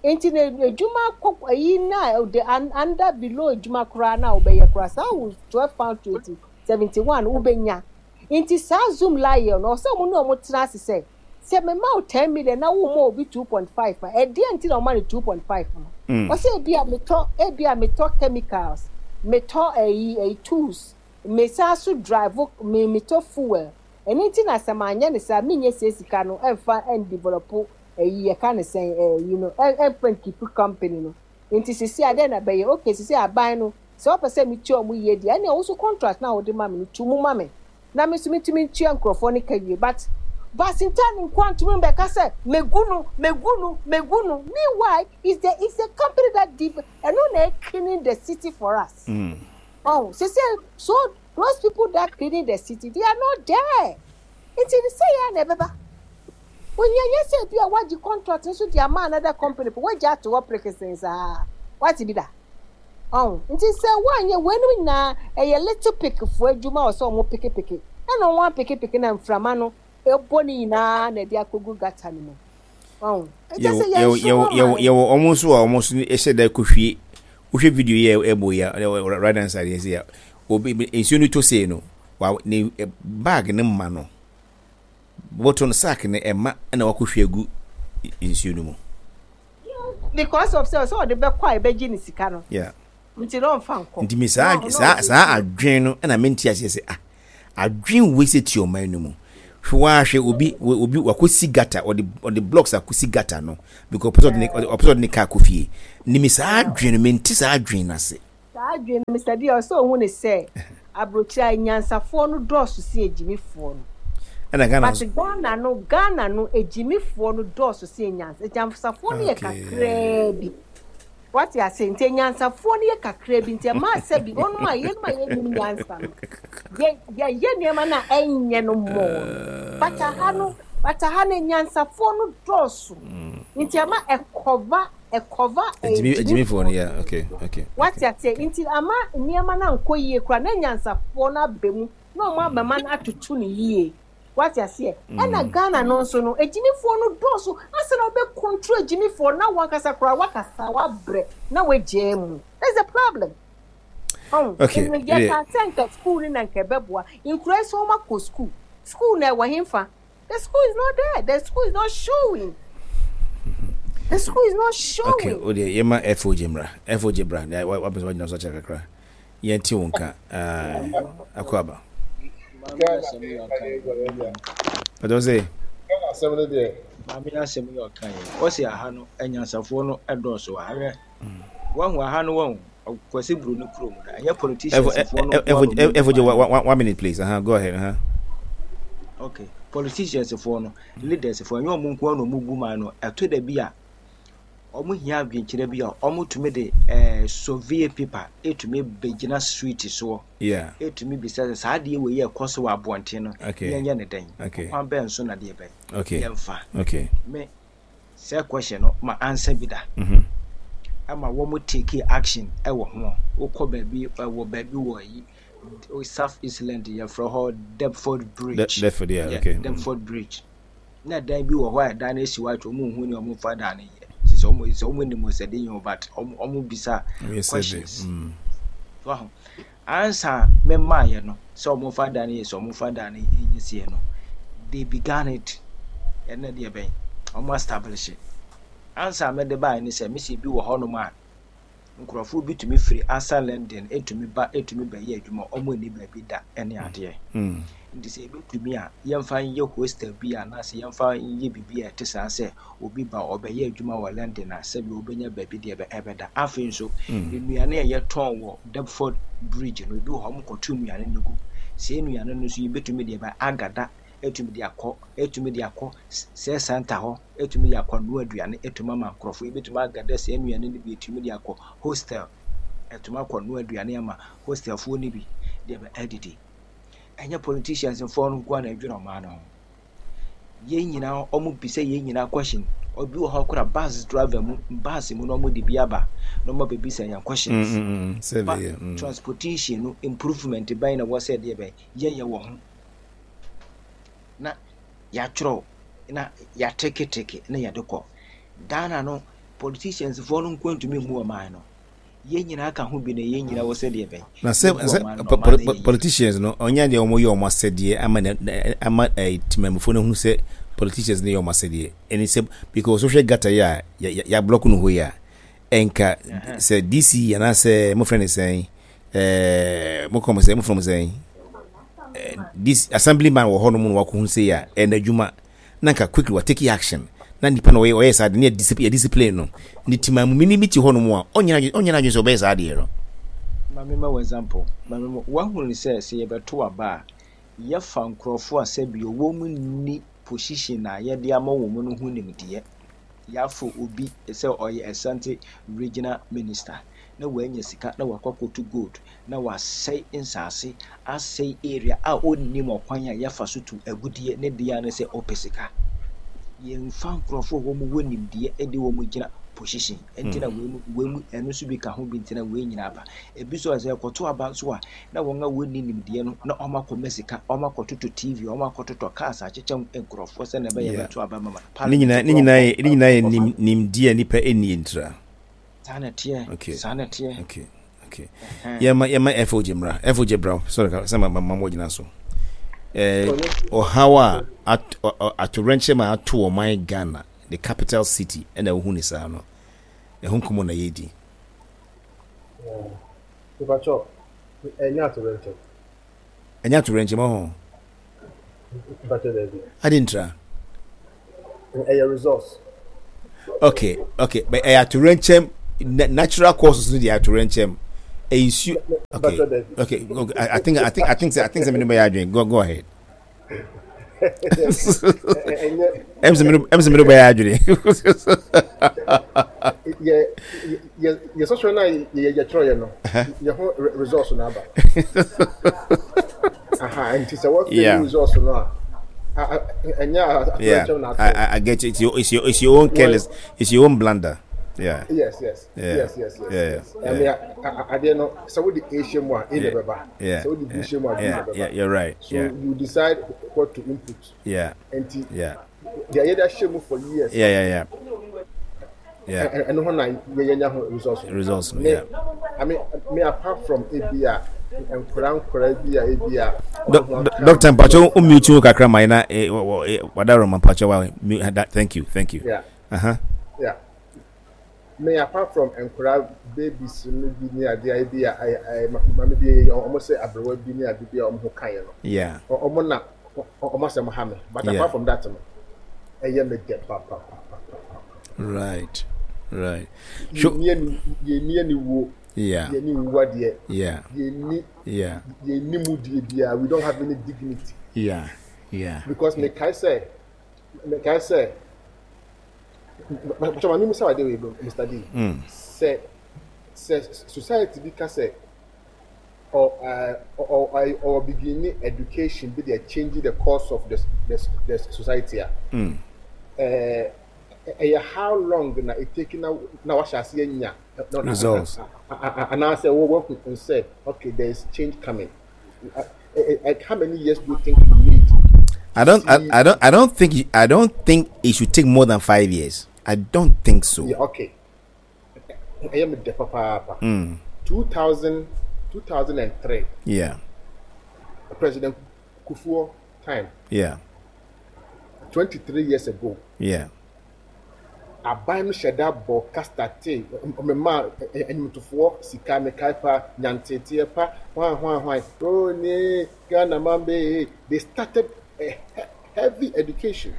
Speaker 3: Nti na edwuma kɔ ayi na the under below edwuma koraa na wobɛyɛ koraa saa wo twelve pound twenty seventy one wobɛnya. Nti saa Zoomlion no ɔsɛ ɔmo ne ɔmo tena ase sɛ sɛ mema wo ten million na wo ma obi two point five a, ɛdeɛ nti na ɔma no two point five no?
Speaker 2: Mm.
Speaker 3: Ɔsɛ ebi a metɔ ebi a metɔ chemicals, metɔ ɛyi ɛyi tools, mesan so drive me metɔ fuel. Ɛno nti na sɛ manyɛ ne saa menyɛ sie sika no ɛmfa ɛndevelop ɛyi yɛka ne sɛn ɛyi no ɛmfa nkeep company no. Nti sisi adeɛ na bɛyɛ okay, sisi aban no sɛ ɔpɛ sɛ metua ɔmo yie deɛ, ɛnna ɔwo contract na ɔde ma me no tu mu ma me na me nso metumi ntua nkurɔfoɔ no ka wie, but Basintale nkoa ntumi mbɛka sɛ megu no megu no megu no. Meanwhile is the is the company that give ɛno na cleaning the city for us.
Speaker 2: Mm.
Speaker 3: Oh, sɛ sɛ so those people that cleaning the city, they are not there. Nti sɛ yɛ na ɛbɛba onyanya sɛ bi a wagye contract nso de ama another company po wagye ato hɔ prekesen saa wate bi da ɔn. Nti sɛ woanyɛ weinom nyinaa, ɛyɛ litter pick foɔ adwuma a ɔsɛ ɔmo pekepeke ɛna ɔmo apekepeke na mframa no ɛbɔ ne nyinaa na ɛde akɔgu gutter no mu ɔn. Ɛkyɛ sɛ
Speaker 2: yɛwɔ
Speaker 3: yɛn
Speaker 2: yɛwɔ yɛwɔ yɛwɔ ɔmo nso a ɔmo nso hyɛ da kɔhwie. Wohwɛ video yi a ɛbɔ yi a, right hand side yɛ sɛ obi nsuo no tɔ sei no wa ne bag ne ma no bɔtɔ no sack no ɛma ɛna wakɔhwie agu nsuo no mu.
Speaker 3: Because of sɛ sɛ ɔde bɛkɔ a ɛbɛgye ne sika no.
Speaker 2: Yeah.
Speaker 3: Nti na ɔmfa nkɔ.
Speaker 2: Nti mi saa saa saa adwene no ɛna mente aseɛ sɛ ah, adwene wei sɛ ti ɔman no mu. Hwɛ wahwɛ obi obi wakɔsi gutter, ɔde ɔde blocks akɔsi gutter no because ɔpɛ sɛ ɔde ne ɔpɛ sɛ ɔde ne car kɔ fie. Nimi saa adwene no, mente saa adwene no ase.
Speaker 3: Saa adwene no, Mister D, ɔsɛ ohun ne sɛ aburokyire a nyansafoɔ no dɔɔso si agyimifoɔ no.
Speaker 2: Ɛna Ghana
Speaker 3: But Ghana no, Ghana no, agyimifoɔ no dɔɔso si nyansa. Nyansafoɔ no yɛ kakraa bi. Wate ase? Nti nyansafoɔ no yɛ kakraa bi, nti ɛmaa sɛ bi wɔnom a yɛnom a yɛnim nyansa no, yɛ yɛyɛ nneɛma no a ɛnyɛ no mmɔɔ no. But aha no, but aha no nyansafoɔ no dɔɔso. Nti ama ɛkɔva ɛkɔva
Speaker 2: agyimifoɔ no, yeah, okay okay
Speaker 3: Wate ase? Nti ama nneɛma no ankɔ yie koraa na nyansafoɔ no aba mu na ɔmo abɛma no atoto no yie. Wate aseɛ? Ɛna Ghana no nso no, agyimifoɔ no dɔɔso asa na wobɛ control agyimifoɔ na wankasa koraa wakasa wabrɛ na wagyaa mu. That's the problem. Oh,
Speaker 2: Okay,
Speaker 3: yɛka sɛ nka school no na nka ɛbɛboa nkura sɛ wɔn akɔ school. School na ɛwɔ hemfa? The school is not there. The school is not showing. The school is not showing.
Speaker 2: Okay, o deɛ yɛma F O J mmra. F O J bra, wapɛ sɛ wagyina so akyɛ kakra. Yɛnte wo nka akɔ aba. Pɛtɛ sɛ
Speaker 4: Asɛm no deɛ
Speaker 5: Maame, asɛm yi ɔka yɛ, ɔsi aha no anyansafoɔ no ɛdɔɔso wɔ ha. Hwɛ, wahu aha no, wahu Kwasi Buroni kurom no, ɛnyɛ politicians foɔ no nko ara na
Speaker 2: F O J, one minute, please. uh -huh. Go ahead. uh -huh.
Speaker 5: Okay, politicians foɔ no, leaders foɔ, ɛnyɛ ɔmo nko ara na ɔmo gu man no. Ɛto da bi a ɔmo hia adwenkyerɛ bi a ɔmo tumi de ɛɛ survey paper etumi bɛgyina street soɔ,
Speaker 2: yeah
Speaker 5: etumi bisa sɛ saa adeɛ wɔ yi a ɛkɔ so wɔ abɔnten no,
Speaker 2: Okay.
Speaker 5: yɛnyɛ ne dɛn?
Speaker 2: Okay.
Speaker 5: Kwan bɛn so na deɛ bɛn
Speaker 2: okay
Speaker 5: yɛmfa?
Speaker 2: Okay
Speaker 5: me sɛ question no ma answer bi da
Speaker 2: mm -hmm.
Speaker 5: ama wɔn take action ɛwɔ ho. Wokɔ baabi, ɛwɔ baabi wɔ yi South Eastland, yɛfrɛ hɔ Deptford Bridge.
Speaker 2: Deptford, yeah.
Speaker 5: Yeah,
Speaker 2: okay mm.
Speaker 5: Deptford Bridge na dan bi wɔ hɔ a dan no esi hɔ atwa, wɔn nhu nea wɔn fa dan no yɛ, ti sɛ wɔn sɛ wɔn nim sɛ de yɛn o, but wɔn wɔn bisa
Speaker 2: Wɔyɛ survey.
Speaker 5: questions.
Speaker 2: mm.
Speaker 5: So aho ansa mɛmaa yɛ no sɛ wɔn fa dan no yɛ, sɛ wɔn fa dan no yɛ sie no, they began it. Ɛnna deɛ bɛn wɔn establish it. Ansa mɛde baa ne sɛ mesi bi wɔ hɔnom a nkurɔfoɔ bi tumi firi asa London etumi ba, etumi bɛyɛ adwuma, wɔn ani baabi da ɛne adeɛ.
Speaker 2: Mm.
Speaker 5: Nti sɛ ebetumi a yɛmfa nyɛ hostel bi anaasɛ yɛmfa nyɛ biribi a ɛte saa, sɛ obi ba ɔbɛyɛ adwuma wɔ London a, sɛbi obɛnya baabi deɛ ɛbɛ- ɛbɛda. Afei nso
Speaker 2: Mm.
Speaker 5: nnuane a yɛtɔn wɔ Deptford Bridge no, ebi wɔ hɔ a wɔkɔto nnuane no gu. Saa nnuane no nso yɛbɛtumi de ɛbɛ agada, etumi de akɔ etumi de akɔ sɛ center hɔ, etumi de akɔ noa aduane, etumi ama nkurɔfoɔ. Ebetumi agada saa nnuane no bi, etumi de akɔ hostel, etumi akɔ noa aduane ama hostelfoɔ no bi deɛ bɛ adidi. Ɛnyɛ politicians foɔ no nko ara na ɛdwene ɔman no ho. Yɛn nyinaa ɔmo bisa yɛn nyinaa question. Obi wɔ hɔ kora, bus driver mu, bus mu na ɔmo de bi aba na ɔmo abɛbisa yɛn
Speaker 2: Mm,
Speaker 5: questions.
Speaker 2: mm, mm.
Speaker 5: Ba
Speaker 2: Survey, yeah. mm.
Speaker 5: transportation no improvement bɛn na wɔ sɛ deɛ bɛn yɛyɛ wɔ ho, na yɛatwerɛw na yɛateketeke na yɛde kɔ Ghana no. Politicians foɔ no nko ntumi mmu ɔman no. Yɛn nyinaa ka ho bi na yɛn nyinaa wɔ sɛ deɛ bɛn
Speaker 2: Na sɛ
Speaker 5: yɛbu
Speaker 2: sɛ
Speaker 5: ɔman no na
Speaker 2: po-
Speaker 5: ɔman
Speaker 2: po-
Speaker 5: no
Speaker 2: po-
Speaker 5: yɛ yie.
Speaker 2: politicians no, ɔnyɛ deɛ wɔn yɛ wɔn asɛdeɛ ama na na- ama ɛɛ temamufoɔ no hu sɛ politicians no yɛ wɔn asɛdeɛ ɛne sɛ because wohwɛ gutter yi a yɛ yɛ yɛablock no hɔ yi a, ɛnka
Speaker 5: Ɛhɛn.
Speaker 2: sɛ D C anaasɛ mofrɛ ne sɛn, ɛɛ mokɔ mo sɛ mofrɛ mo sɛn, ɛɛ D C assemblyman wɔ hɔnom na wakɔhu sɛ yɛ a ɛyɛ n'adwuma na nka quickly wa take action na nipa na ɔyɛ ɔyɛ saa de ne yɛ discipline, yɛ discipline no ne temamuni bi te hɔnom a ɔnyɛ ɔnyɛ n'adwene sɛ ɔbɛyɛ saa adeɛ no.
Speaker 5: Maame, ma wɔ example. Maame, ma wahunu sɛ sɛ yɛbɛto aba a, yɛfa nkurɔfoɔ a sɛbi wɔn mu nni position a yɛde ama wɔn mu no ho nimdeɛ. Yɛafo obi sɛ ɔyɛ Asante Regional Minister na wanya sika na wakɔ akɔtu gold na wasɛe nsase, asɛe area a ɔnnim ɔkwan a yɛfa so tu agudie ne deɛ ne sɛ ɔpɛ sika. Yɛmfa nkurɔfoɔ a wɔn wɔ nimdeɛ de wɔn gyina position nti na wei mu wei mu ɛno nso bi ka ho bi nti na wei nyinaa aba. Ebi nso sɛ ɛkɔto aba nso a, na wɔn a wɔnni nimdeɛ no na wɔn akɔma sika, wɔn akɔtotɔ T V, wɔn akɔtotɔ cars akyekyɛ nkurɔfoɔ sɛ na ɛbɛyɛ
Speaker 2: Yeah.
Speaker 5: bɛto aba ma ma
Speaker 2: Ne nyinaa ne nyinaa yɛ ne nyinaa yɛ nim nimdeɛ a nipa ɛnni ntira.
Speaker 5: Saa na ɛteɛ.
Speaker 2: Okay.
Speaker 5: Saa na ɛteɛ.
Speaker 2: okay okay
Speaker 5: Ɛhɛn.
Speaker 2: yɛma yɛma F O G mmra. F O G bra. Sorry, sɛ ma ma ma mo gyina so ɛɛ ɔhaw a at ɔ- ɔ- atowerɛnkyɛm a ato ɔman Ghana, the capital city, ɛna wohu ne saa no, ɛho nkɔmmɔ na yɛdi.
Speaker 4: Mepakyɛw, ɛnyɛ atowerɛnkyɛm.
Speaker 2: Ɛnyɛ atowerɛnkyɛm ɔho.
Speaker 4: Mpakyɛ daabi.
Speaker 2: Adi ntra.
Speaker 4: Ɛyɛ results.
Speaker 2: Okay, okay, but ɛyɛ atorenkyɛm natural causes no deɛ atorenkyɛm. Ɛyɛ nsuo. Okay, okay, okay. I, I think I think I think I think sɛ mi ni bɛ yɛ adwene. Go go ahead. Ɛm sɛ mi ni bɛ yɛ adwene.
Speaker 4: Yɛ yɛ yɛ sɔsɔ na yɛ yɛ kyerɛ yɛ no yɛ ho results na aba. Aha, nti sɛ wɔfɛ
Speaker 2: Yeah.
Speaker 4: results no a ɛnyɛ
Speaker 2: Yeah,
Speaker 4: atorenkyɛm na
Speaker 2: I,
Speaker 4: ato.
Speaker 2: I, I get you. It's your, it's your, it's your own careless, it's your own blunder. Yeah,
Speaker 4: Yes, yes,
Speaker 2: Yeah.
Speaker 4: yes, yes, yes.
Speaker 2: Yeah,
Speaker 4: yes.
Speaker 2: yeah.
Speaker 4: I mean, adeɛ no sɛ wode A hyɛ mu a, A na ɛbɛba.
Speaker 2: yeah,
Speaker 4: Sɛ wode B hyɛ mu a, B na
Speaker 2: yeah,
Speaker 4: ɛbɛba.
Speaker 2: yeah. You're right.
Speaker 4: So
Speaker 2: Yeah,
Speaker 4: you decide what to input.
Speaker 2: yeah,
Speaker 4: Nti
Speaker 2: yeah,
Speaker 4: deɛ yɛde ahyɛ mu for years.
Speaker 2: yeah, yeah, yeah. Yeah,
Speaker 4: ɛ- ɛno ho na yɛnya ho results. no.
Speaker 2: results. no,
Speaker 4: Me,
Speaker 2: Yeah.
Speaker 4: I mean, me apart from ebi a nkora nkora bi a ebi a.
Speaker 2: Doc- doc- Doctor Mpacho, unmute you kakra ma ina eh, wo- eh, wadaro ma Mpacho wa mute that. Thank you, thank you.
Speaker 4: Yeah,
Speaker 2: Uh huh.
Speaker 4: yeah. Me apart from nkora babies no bi ne adeɛ a ebi a ɛyɛ ɛyɛ maame bi ɔmo sɛ aberewa bi ne ade bi a ɔmo ho kan yɛ no.
Speaker 2: Yeah.
Speaker 4: Ɔ- ɔmo na ɔ- ɔmo asɛm ha me but
Speaker 2: Yeah.
Speaker 4: apart from that no ɛyɛ me dɛ pa pa pa pa pa.
Speaker 2: Right. Right. Sure.
Speaker 4: Yɛnni ani yɛnni aniwuo
Speaker 2: Yeah.
Speaker 4: yɛnni nwuwadeɛ
Speaker 2: Yeah.
Speaker 4: yɛnni
Speaker 2: Yeah.
Speaker 4: yɛnni mudie biara we don't have any dignity
Speaker 2: Yeah. Yeah.
Speaker 4: because mekae sɛ mekae sɛ mpatwa maame musa wade wei Mr D sɛ sɛ society bi ka sɛ ɔ ɛɛ ɔ ɔ ɔ begin education bi de change the course of the the the society a ɛɛ ɛyɛ how long na it take na na wahyɛ aseɛ nya
Speaker 2: Results.
Speaker 4: anaasɛ wɔ wɔn sɛ okay there is change coming uh, uh, how many years do you think you need?
Speaker 2: I don't. I, I don't. I don't think. you- I don't think it should take more than five years. I don't think so.
Speaker 4: Yeah, okay. ɛyɛ me dɛ papaapa. Two thousand, two thousand and three,
Speaker 2: Yeah.
Speaker 4: President Kufuor time,
Speaker 2: Yeah.
Speaker 4: twenty three years ago.
Speaker 2: Yeah.
Speaker 4: Aban no hyɛ da bɔ kasta tee ɔmɛma ɛnimtofoɔ sika mekae pa nyanteteɛ pa hwan hwan hwan oh ne Ghana man be they started a he- heavy education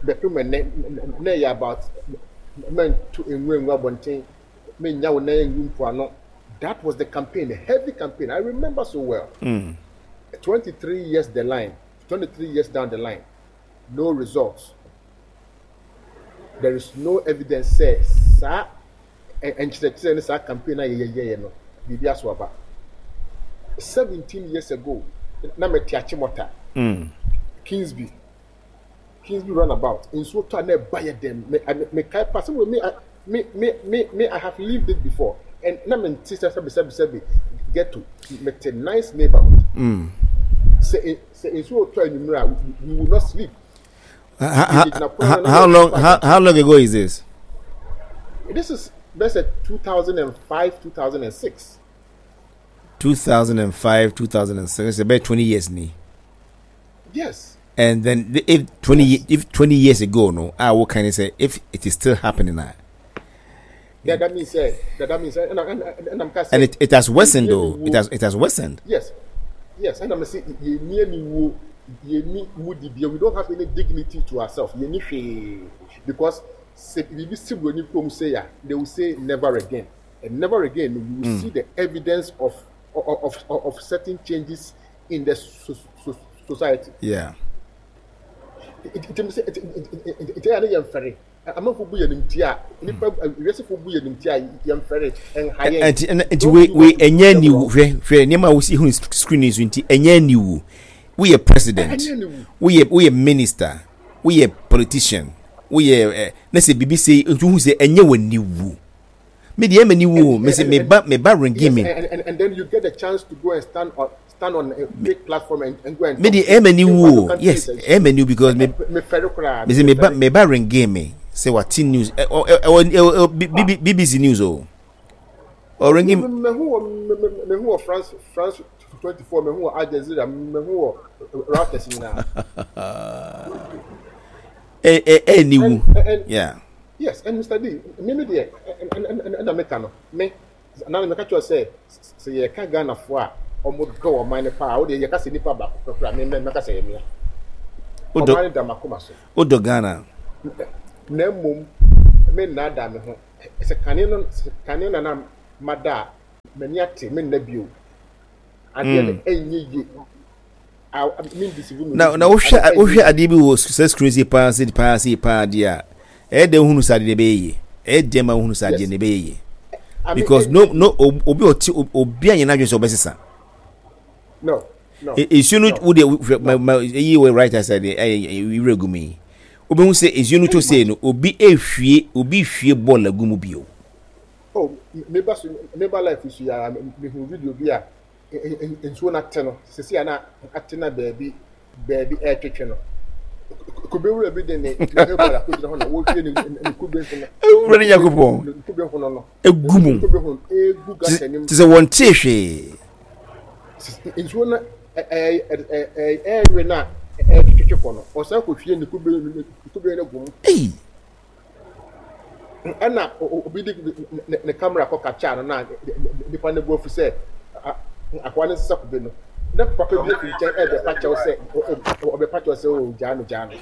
Speaker 4: bɛpem ɛnɛ na ɛyɛ about mɛnto nwura ngu abɔnten mɛnya wo nan ngu mpoano that was the campaign a heavy campaign I remember so well twenty three years the line twenty three years down the line no results there is no evidence sɛ saa ɛ- nkyerɛkyerɛ ne saa campaign a yɛyɛyɛ no biribi aso aba seventeen years ago na mɛte Achimota Kingsby Kingsby runabout nsuo tɔ a na ɛba yɛ dɛm me me mekae pa sɛ me me me me me I have lived it before and na me nte sɛ sɛbi sɛbi sɛbi ghetto mete nice neighborhood sɛ sɛ nsuo tɔ anwummerɛ a we we will not sleep.
Speaker 2: How, how, how long? How, how long ago is this?
Speaker 4: This is let's say two thousand and five, two thousand and six.
Speaker 2: Two thousand and five, two thousand and six. It's about twenty years, ni.
Speaker 4: Yes.
Speaker 2: And then the- if twenty ye- if twenty years ago, no, I will kind of say if it is still happening now,
Speaker 4: Yeah, that means eh, that, that means eh, and, and, and, and I'm
Speaker 2: and it, it has worsened though. It has it has worsened.
Speaker 4: Yes. Yes, and I'm saying you near me wo you need mudi we don't have any dignity to ourselves. You need because sɛ biribi si buroni kurom say a they will say never again. And never again you will see the evidence of of, of of certain changes in the so, so, society.
Speaker 2: Yeah.
Speaker 4: nti sɛ nti ɛyɛ ne yɛn fɛre amanfo bu yɛn nimti a nipa wiasefo bu yɛn nimti a yɛn fɛre ɛnha yɛn.
Speaker 2: Nti nti wei wei ɛnyɛ niwu hwɛ hwɛ nneɛma a wosi hu screen yi so nti ɛnyɛ niwu woyɛ president
Speaker 4: Ɛnyɛ niwu.
Speaker 2: woyɛ woyɛ minister woyɛ politician woyɛ ɛ ne sɛ bibi sɛ nti wohu sɛ ɛnyɛ wɔ niwu me deɛ ɛmɛ niwu o me sɛ me ba me ba ringi
Speaker 4: Yes,
Speaker 2: me
Speaker 4: and, and, and then you get the chance to go and stand on stand on a big platform and, and go and
Speaker 2: me deɛ ɛmɛ niwu o yes ɛmɛ niwu because me
Speaker 4: me fɛre koraa.
Speaker 2: me sɛ me ba me ba ringi me sɛ wate news ɛ ɔ ɛ ɛ ɛ ɛ BBC news o ɔringi
Speaker 4: me me hu wɔ me me me hu wɔ France France twenty four me hu wɔ Al Jazeera me hu wɔ Reuters nyinaa.
Speaker 2: ɛ ɛ ɛ niwu
Speaker 4: And- and-
Speaker 2: yeah
Speaker 4: Yes, and Mr. D, me me deɛ ɛna meka no me na meka kyerɛ sɛ sɛ yɛka Ghanafoɔ a
Speaker 6: Ɔmo dɔ ɔman no paa. Wo deɛ yɛka sɛ nipa baako pɛ koraa me mɛka sɛ ɛyɛ mea.
Speaker 2: Wodɔ
Speaker 6: Ɔman no da m'akoma so.
Speaker 2: Wodɔ Ghana.
Speaker 6: Na mmom me nnaadaa me ho. Sɛ kane no sɛ kane na na mada a m'ani ate menna bio. Adeɛ no ɛnyɛ yie.
Speaker 2: Na na wohwɛ wohwɛ adeɛ bi wɔ sɛ screen si paa si paa si paa deɛ a ɛyɛ dɛ wohunu sɛ adeɛ no ɛbɛyɛ yie ɛyɛ dɛ ma wohunu sɛ adeɛ no ɛbɛyɛ yie because no no obi ɔte obi anyɛ n'adwene sɛ ɔbɛsesa
Speaker 6: no no
Speaker 2: nsuo no wo deɛ hwɛ ma ma eyi wɔ right side deɛ ɛyɛ wura gu mu yi wobɛhu sɛ nsuo no tɔ sei no obi ehwie obi hwie bɔɔl agu mu bio.
Speaker 6: Oh, meba so meba life so ya mehu video bi a nsuo no ate no sisi a na ate na baabi baabi ɛretwetwe no kube wura bi de ne ne hebɔl akɔgyina hɔ na wɔhwie ne ne kube ho no
Speaker 2: Awurade
Speaker 6: ne
Speaker 2: Nyankopɔn
Speaker 6: ne kube ho no no
Speaker 2: egu mu
Speaker 6: ne kube ho no egu gata nim
Speaker 2: te sɛ wɔntee hwee.
Speaker 6: Nsuo no ɛɛ ɛɛwe no a ɛretwetwe kɔ no ɔsan kɔhwie ne kube ne kube no gu mu.
Speaker 2: Ei!
Speaker 6: Ɛna obi de ne camera kɔ capture no na nipa no bo afu sɛ akoa no nsesa kube no na papa bi afi nkyɛn ɛbɛpa kyɛw sɛ ɔbɛpa kyɛw sɛ o gyaa no gyaa no.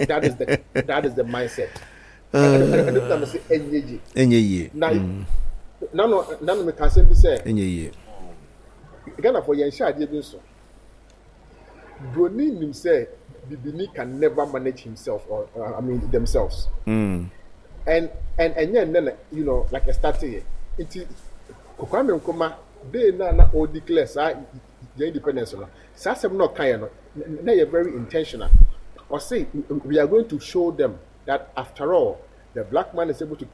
Speaker 6: That is the that is the mindset. Ɛno na mese ɛnyɛ yie.
Speaker 2: Ɛnyɛ yie.
Speaker 6: Na nano nano meka asɛm bi sɛ
Speaker 2: ɛnyɛ yie.
Speaker 6: Ghanafoɔ yɛnhyɛ adeɛ bi nso. Broni nim sɛ bibini can never manage himself or uh, I mean themselves.
Speaker 2: Mm.
Speaker 6: And and ɛnyɛ nnɛ na you know like ɛstarte yɛ. Nti Kwame Nkrumah day na na o declare saa yɛn independence no saa asɛm na ɔka yɛ no na yɛ very intentional. Ɔse we are going to show them that after all the black man is able to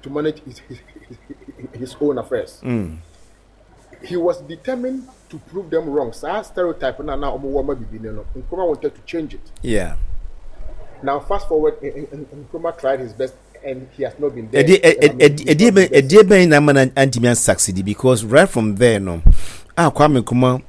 Speaker 6: to manage his his, his own affairs.
Speaker 2: Mm.
Speaker 6: He was determined to prove them wrong. Saa stereotype na na ɔmo wɔ ma bibi no no Nkrumah wanted to change it.
Speaker 2: Yeah.
Speaker 6: Now fast forward, Nkrumah tried his best and he has not been there.
Speaker 2: Ɛdeɛ bɛn ɛdeɛ bɛn na ama na antumi ansucceed because right from there no a Kwame Nkrumah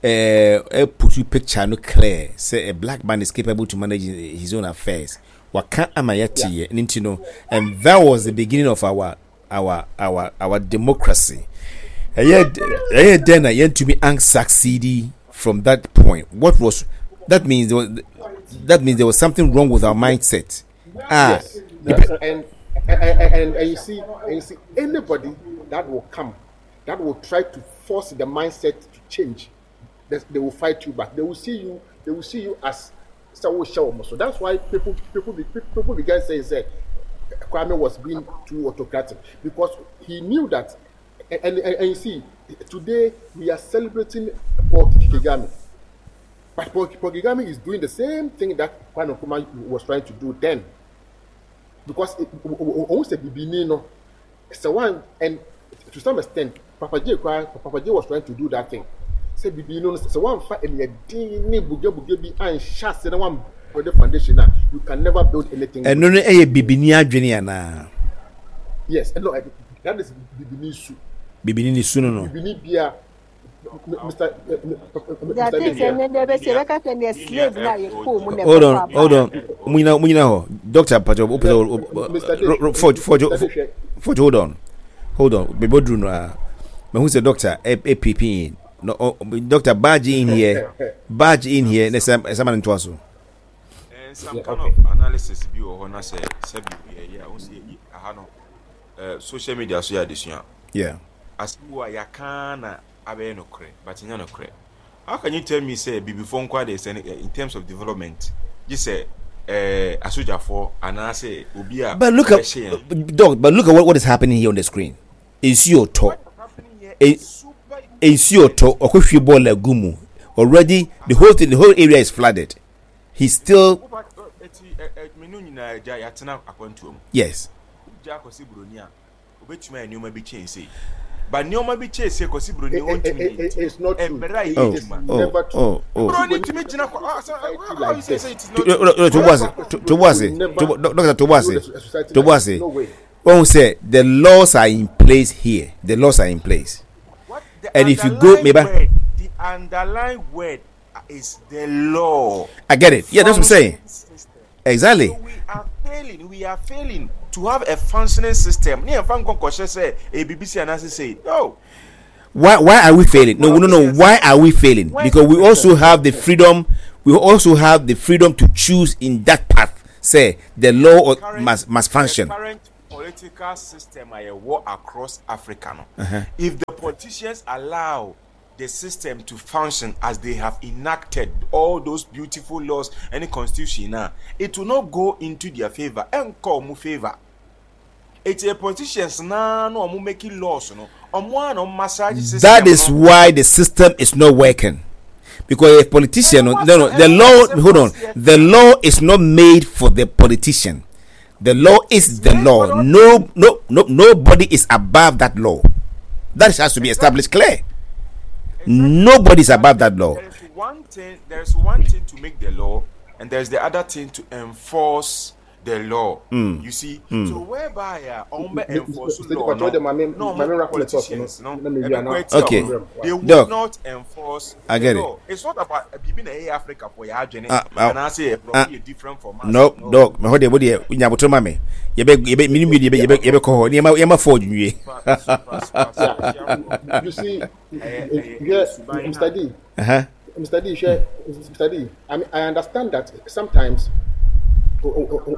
Speaker 2: ɛɛ eh, put picture no clear sɛ a black man is capable to manage his own affairs waka ama yɛte yɛ ne nti no and that was the beginning of our our our our democracy ɛyɛ ɛyɛ dɛn na yɛntumi an succeed from that point what was that means there was, that means there was something wrong with our mindset ah
Speaker 6: yes, yes. And, and, and, and you see and you see anybody that will come that will try to force the mindset to change they, they will fight you back they will see you they will see you as sɛ wohyɛ wɔn so. That's why people people people began saying sɛ Kwame was being too autocratic because he knew that and, and, and you see today we are celebrating Paul Kagame but Paul, Paul Kagame is doing the same thing that Kwame Nkrumah was trying to do then because ohun sɛ bibini no sɛ one and to some extent Papa J koraa Papa J was trying to do that thing sɛ bibi no sɛ wanfa aniɛden ne bugebuge bi anhyɛ ase na wan build foundation a you can never build anything.
Speaker 2: Ɛno no ɛyɛ bibini adwene anaa?
Speaker 6: Yes, ɛno that is bibini su.
Speaker 2: Bibini ne su no no.
Speaker 6: Bibini bia Mister
Speaker 3: Mister
Speaker 2: Hold on, hold on. Munyina munyina hɔ. Doctor Pacho, o pɛ Forge Forge Forge hold on. Hold on. Bebo duru no a. Mehu sɛ doctor A P P in. No, oh, doctor barge in here. Barge in here. Ne sɛ sɛ ma ne ntoa so.
Speaker 7: Some kind of analysis bi wɔ hɔ na sɛ sɛbi yɛ yɛ a wɔn si aha no social media so yɛ adesua.
Speaker 2: Yeah.
Speaker 7: Asɛm wo a yɛaka na abɛyɛ nokorɛ but nyɛ nokorɛ. How can you tell me sɛ bibifoɔ nko adeɛ sɛ in terms of development gye sɛ ɛɛ asogyafoɔ anaasɛ obi a
Speaker 2: But look at dog, but look at what, what is happening here on the screen. Nsuo tɔ. Nsuo tɔ. Ɔkɔhwie bɔɔl agu mu. Already the whole thing, the whole area is flooded. He's still.
Speaker 7: Menu nyinaa agya yɛatena akwantuo mu.
Speaker 2: Yes.
Speaker 7: Wogya akɔsi buroni a obetumi ayɛ nneɛma bi kyɛn sei but nneɛma bi kyɛn sei kɔsi buroni ɔntumi yɛ
Speaker 6: It's not true.
Speaker 7: Mmerɛ a yɛ
Speaker 2: Oh,
Speaker 7: adwuma.
Speaker 2: oh,
Speaker 6: Never true.
Speaker 2: oh, oh.
Speaker 7: Buroni tumi gyina kɔ ah sɛ
Speaker 6: Society
Speaker 7: how you
Speaker 6: like
Speaker 7: say
Speaker 6: this.
Speaker 7: say it is not true.
Speaker 2: Tobuase, Tobuase, Doctor Tobuase,
Speaker 6: Build a society like this.
Speaker 2: Tobuase.
Speaker 6: No way.
Speaker 2: When we say the laws are in place here, the laws are in place.
Speaker 7: What the
Speaker 2: And if you go,
Speaker 7: underlying
Speaker 2: maybe
Speaker 7: word, the underlying word is the law.
Speaker 2: I get it. Yeah, that's what I'm saying.
Speaker 7: Functioning system.
Speaker 2: Exactly.
Speaker 7: So we are failing. We are failing to have a functioning system. Ne yɛn fa nkɔ nkɔhyɛ sɛ ebibi si anaasɛ sei. No.
Speaker 2: Why why are we failing? No, no, no. Why are we failing? Because we also have the freedom. We also have the freedom to choose in that path. Say the law
Speaker 7: current,
Speaker 2: must must function.
Speaker 7: The current political system I war across Africa. No?
Speaker 2: Uh-huh.
Speaker 7: If the politicians allow the system to function as they have enacted all those beautiful laws and the constitution now, it will not go into their favor and call mu favor. It's a politicians now no omo making laws no omo no massage system.
Speaker 2: That is
Speaker 7: no.
Speaker 2: why the system is not working. Because a politician, no, no, the law, hold on, the law is not made for the politician. The law is the law. No, no, no, nobody is above that law. That has to be established clear. Nobody is above that law.
Speaker 7: There is one thing. There is one thing to make the law, and there is the other thing to enforce the law.
Speaker 2: Mm.
Speaker 7: You see,
Speaker 2: mm.
Speaker 7: so whereby uh, enforce law, no, no politicians, no,
Speaker 2: okay,
Speaker 7: they will
Speaker 2: Doc,
Speaker 7: not enforce.
Speaker 2: I get
Speaker 7: the
Speaker 2: it.
Speaker 7: law. It's not about being a Africa for your and
Speaker 2: uh,
Speaker 7: I say
Speaker 2: uh,
Speaker 7: different from us.
Speaker 2: No, dog. Me hode body nyaboto mame. Yebe yebe mini mi yebe yebe yebe ko ni yema yema forge nwie.
Speaker 6: You see, yeah, Mister D.
Speaker 2: Uh-huh.
Speaker 6: Mister D, Mister D. I mean, I understand that sometimes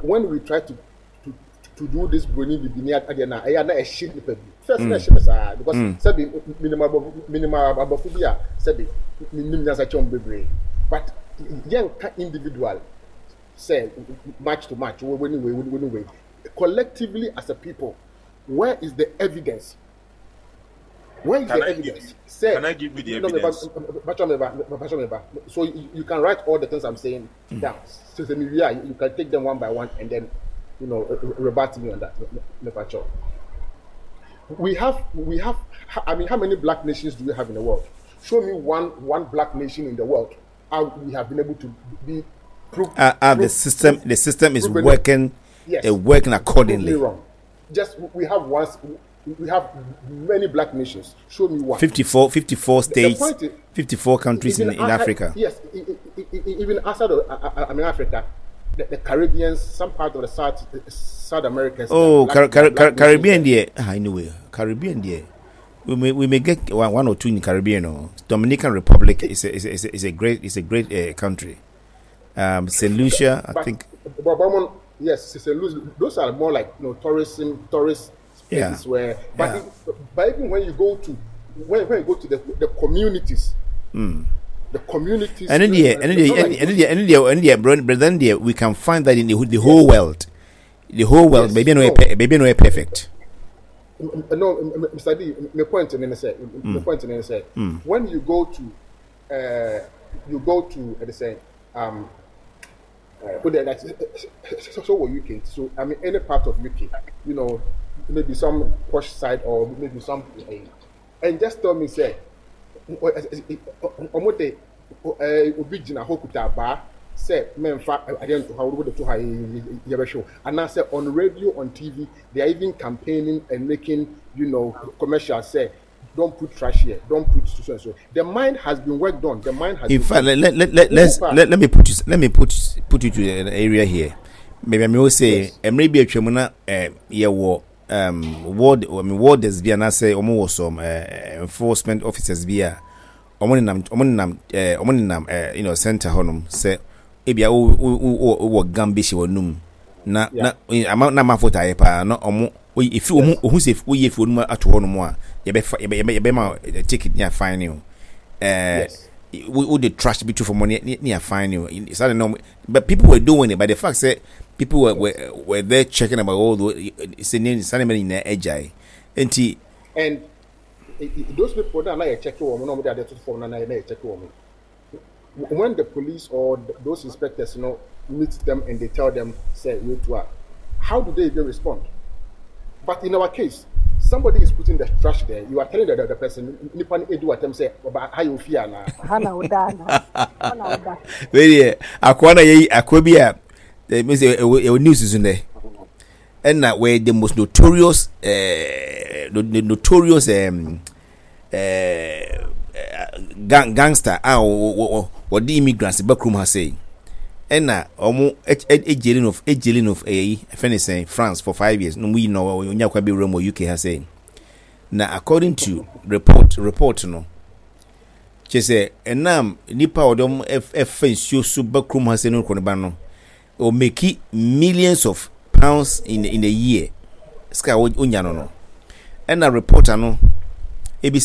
Speaker 6: when we try to to, to do this broni bibini adena eya na ehye nipa bi first na ehye pesa because sebi minimum minimum abofo sebi minim nyansa chom bebre, but yen ka individual say match to match we we we we collectively as a people, where is the evidence? Where is
Speaker 7: can
Speaker 6: the
Speaker 7: I
Speaker 6: evidence?
Speaker 7: Give you,
Speaker 6: Say,
Speaker 7: can I give you the evidence?
Speaker 6: No, so you, you can write all the things I'm saying mm. down. So yeah, you can take them one by one and then, you know, rebut me on that. We have, we have. I mean, how many black nations do we have in the world? Show me one, one black nation in the world how we have been able to be prove.
Speaker 2: Uh, uh,
Speaker 6: prove,
Speaker 2: the system,
Speaker 6: prove,
Speaker 2: the system is
Speaker 6: prove
Speaker 2: working.
Speaker 6: Yes,
Speaker 2: uh, working accordingly.
Speaker 6: Prove me wrong. Just we have one. We have many black nations. Show me one.
Speaker 2: fifty-four, fifty-four states,
Speaker 6: is,
Speaker 2: fifty-four countries in, in
Speaker 6: outside,
Speaker 2: Africa.
Speaker 6: Yes, even outside of I mean Africa, the, the Caribbeans, some part of the South South Americas.
Speaker 2: Oh,
Speaker 6: black,
Speaker 2: Car- Car-
Speaker 6: black
Speaker 2: Caribbean, there. Ah, anyway, Caribbean, there. We may we may get one, one or two in Caribbean. No? Dominican Republic is a, is a, is a, is a great is a great uh, country. Um, Saint Lucia, I
Speaker 6: but,
Speaker 2: think.
Speaker 6: But, but, yes, Saint Lucia. Those are more like you know tourism tourists.
Speaker 2: Yeah.
Speaker 6: Where, but,
Speaker 2: yeah.
Speaker 6: If, but even when you go to when, when you go to the the communities,
Speaker 2: mm.
Speaker 6: the communities,
Speaker 2: and in the and in the and in the and in the and the and we can find that in the, the whole yes. world, the whole world.
Speaker 6: Yes.
Speaker 2: Maybe no,
Speaker 6: no,
Speaker 2: maybe no perfect.
Speaker 6: No, Mister D, my point in say, my point in say, when you go to, uh, you go to, uh, say, um. Uh, so, so were U K. So I mean, any part of U K, you know, maybe some posh side or maybe some, and just tell me say, omote obi jina hokuta ba say men fa I don't know how to how you show, and I say on radio, on T V, they are even campaigning and making, you know, commercials say, don't put trash here, don't put so and so. The mind has been worked on. The mind has.
Speaker 2: In
Speaker 6: been
Speaker 2: fact, let let let let's, let let me put you let me put put you to an area here. Maybe I may say, and maybe a tremona eh yeah war um ward I mean warders be and I say almost some uh, enforcement officers be a omo nam eh omo nam eh you know center honum say ebia o o o gambishi wonum na na ama na mafota ye pa na omo if you who say we if you ato honum a ye be ye be ma ticket near fine you eh we the trash be too for money near fine you it's not normal, but people were doing it. But the fact that people were were, were there checking about all the in agile and
Speaker 6: and those people that are checking woman no they are na na checking woman. When the police or those inspectors, you know, meet them and they tell them, say, you to how do they even respond? But in our case, somebody is putting the trash there. You are telling the other person, Nippon Edu attempt say, but how you feel now?
Speaker 2: Wait, Akwana ye Akwabia, the news is in there. And that were the most notorious, uh, the notorious um, uh, gang gangster ah or or the immigrants back room has say. And na omo e of e of eh finish saying France for five years. No we know we nya kwa be room U K has say. Na according to report report no, kyerɛ sɛ ɛnam nnipa a wɔde wɔn ɛfa nsuo so ba kurom ha sɛ no kɔ ne ba no, ɔmeki millions of pounds in in a year. Sika a onya no no. Ɛna reporter no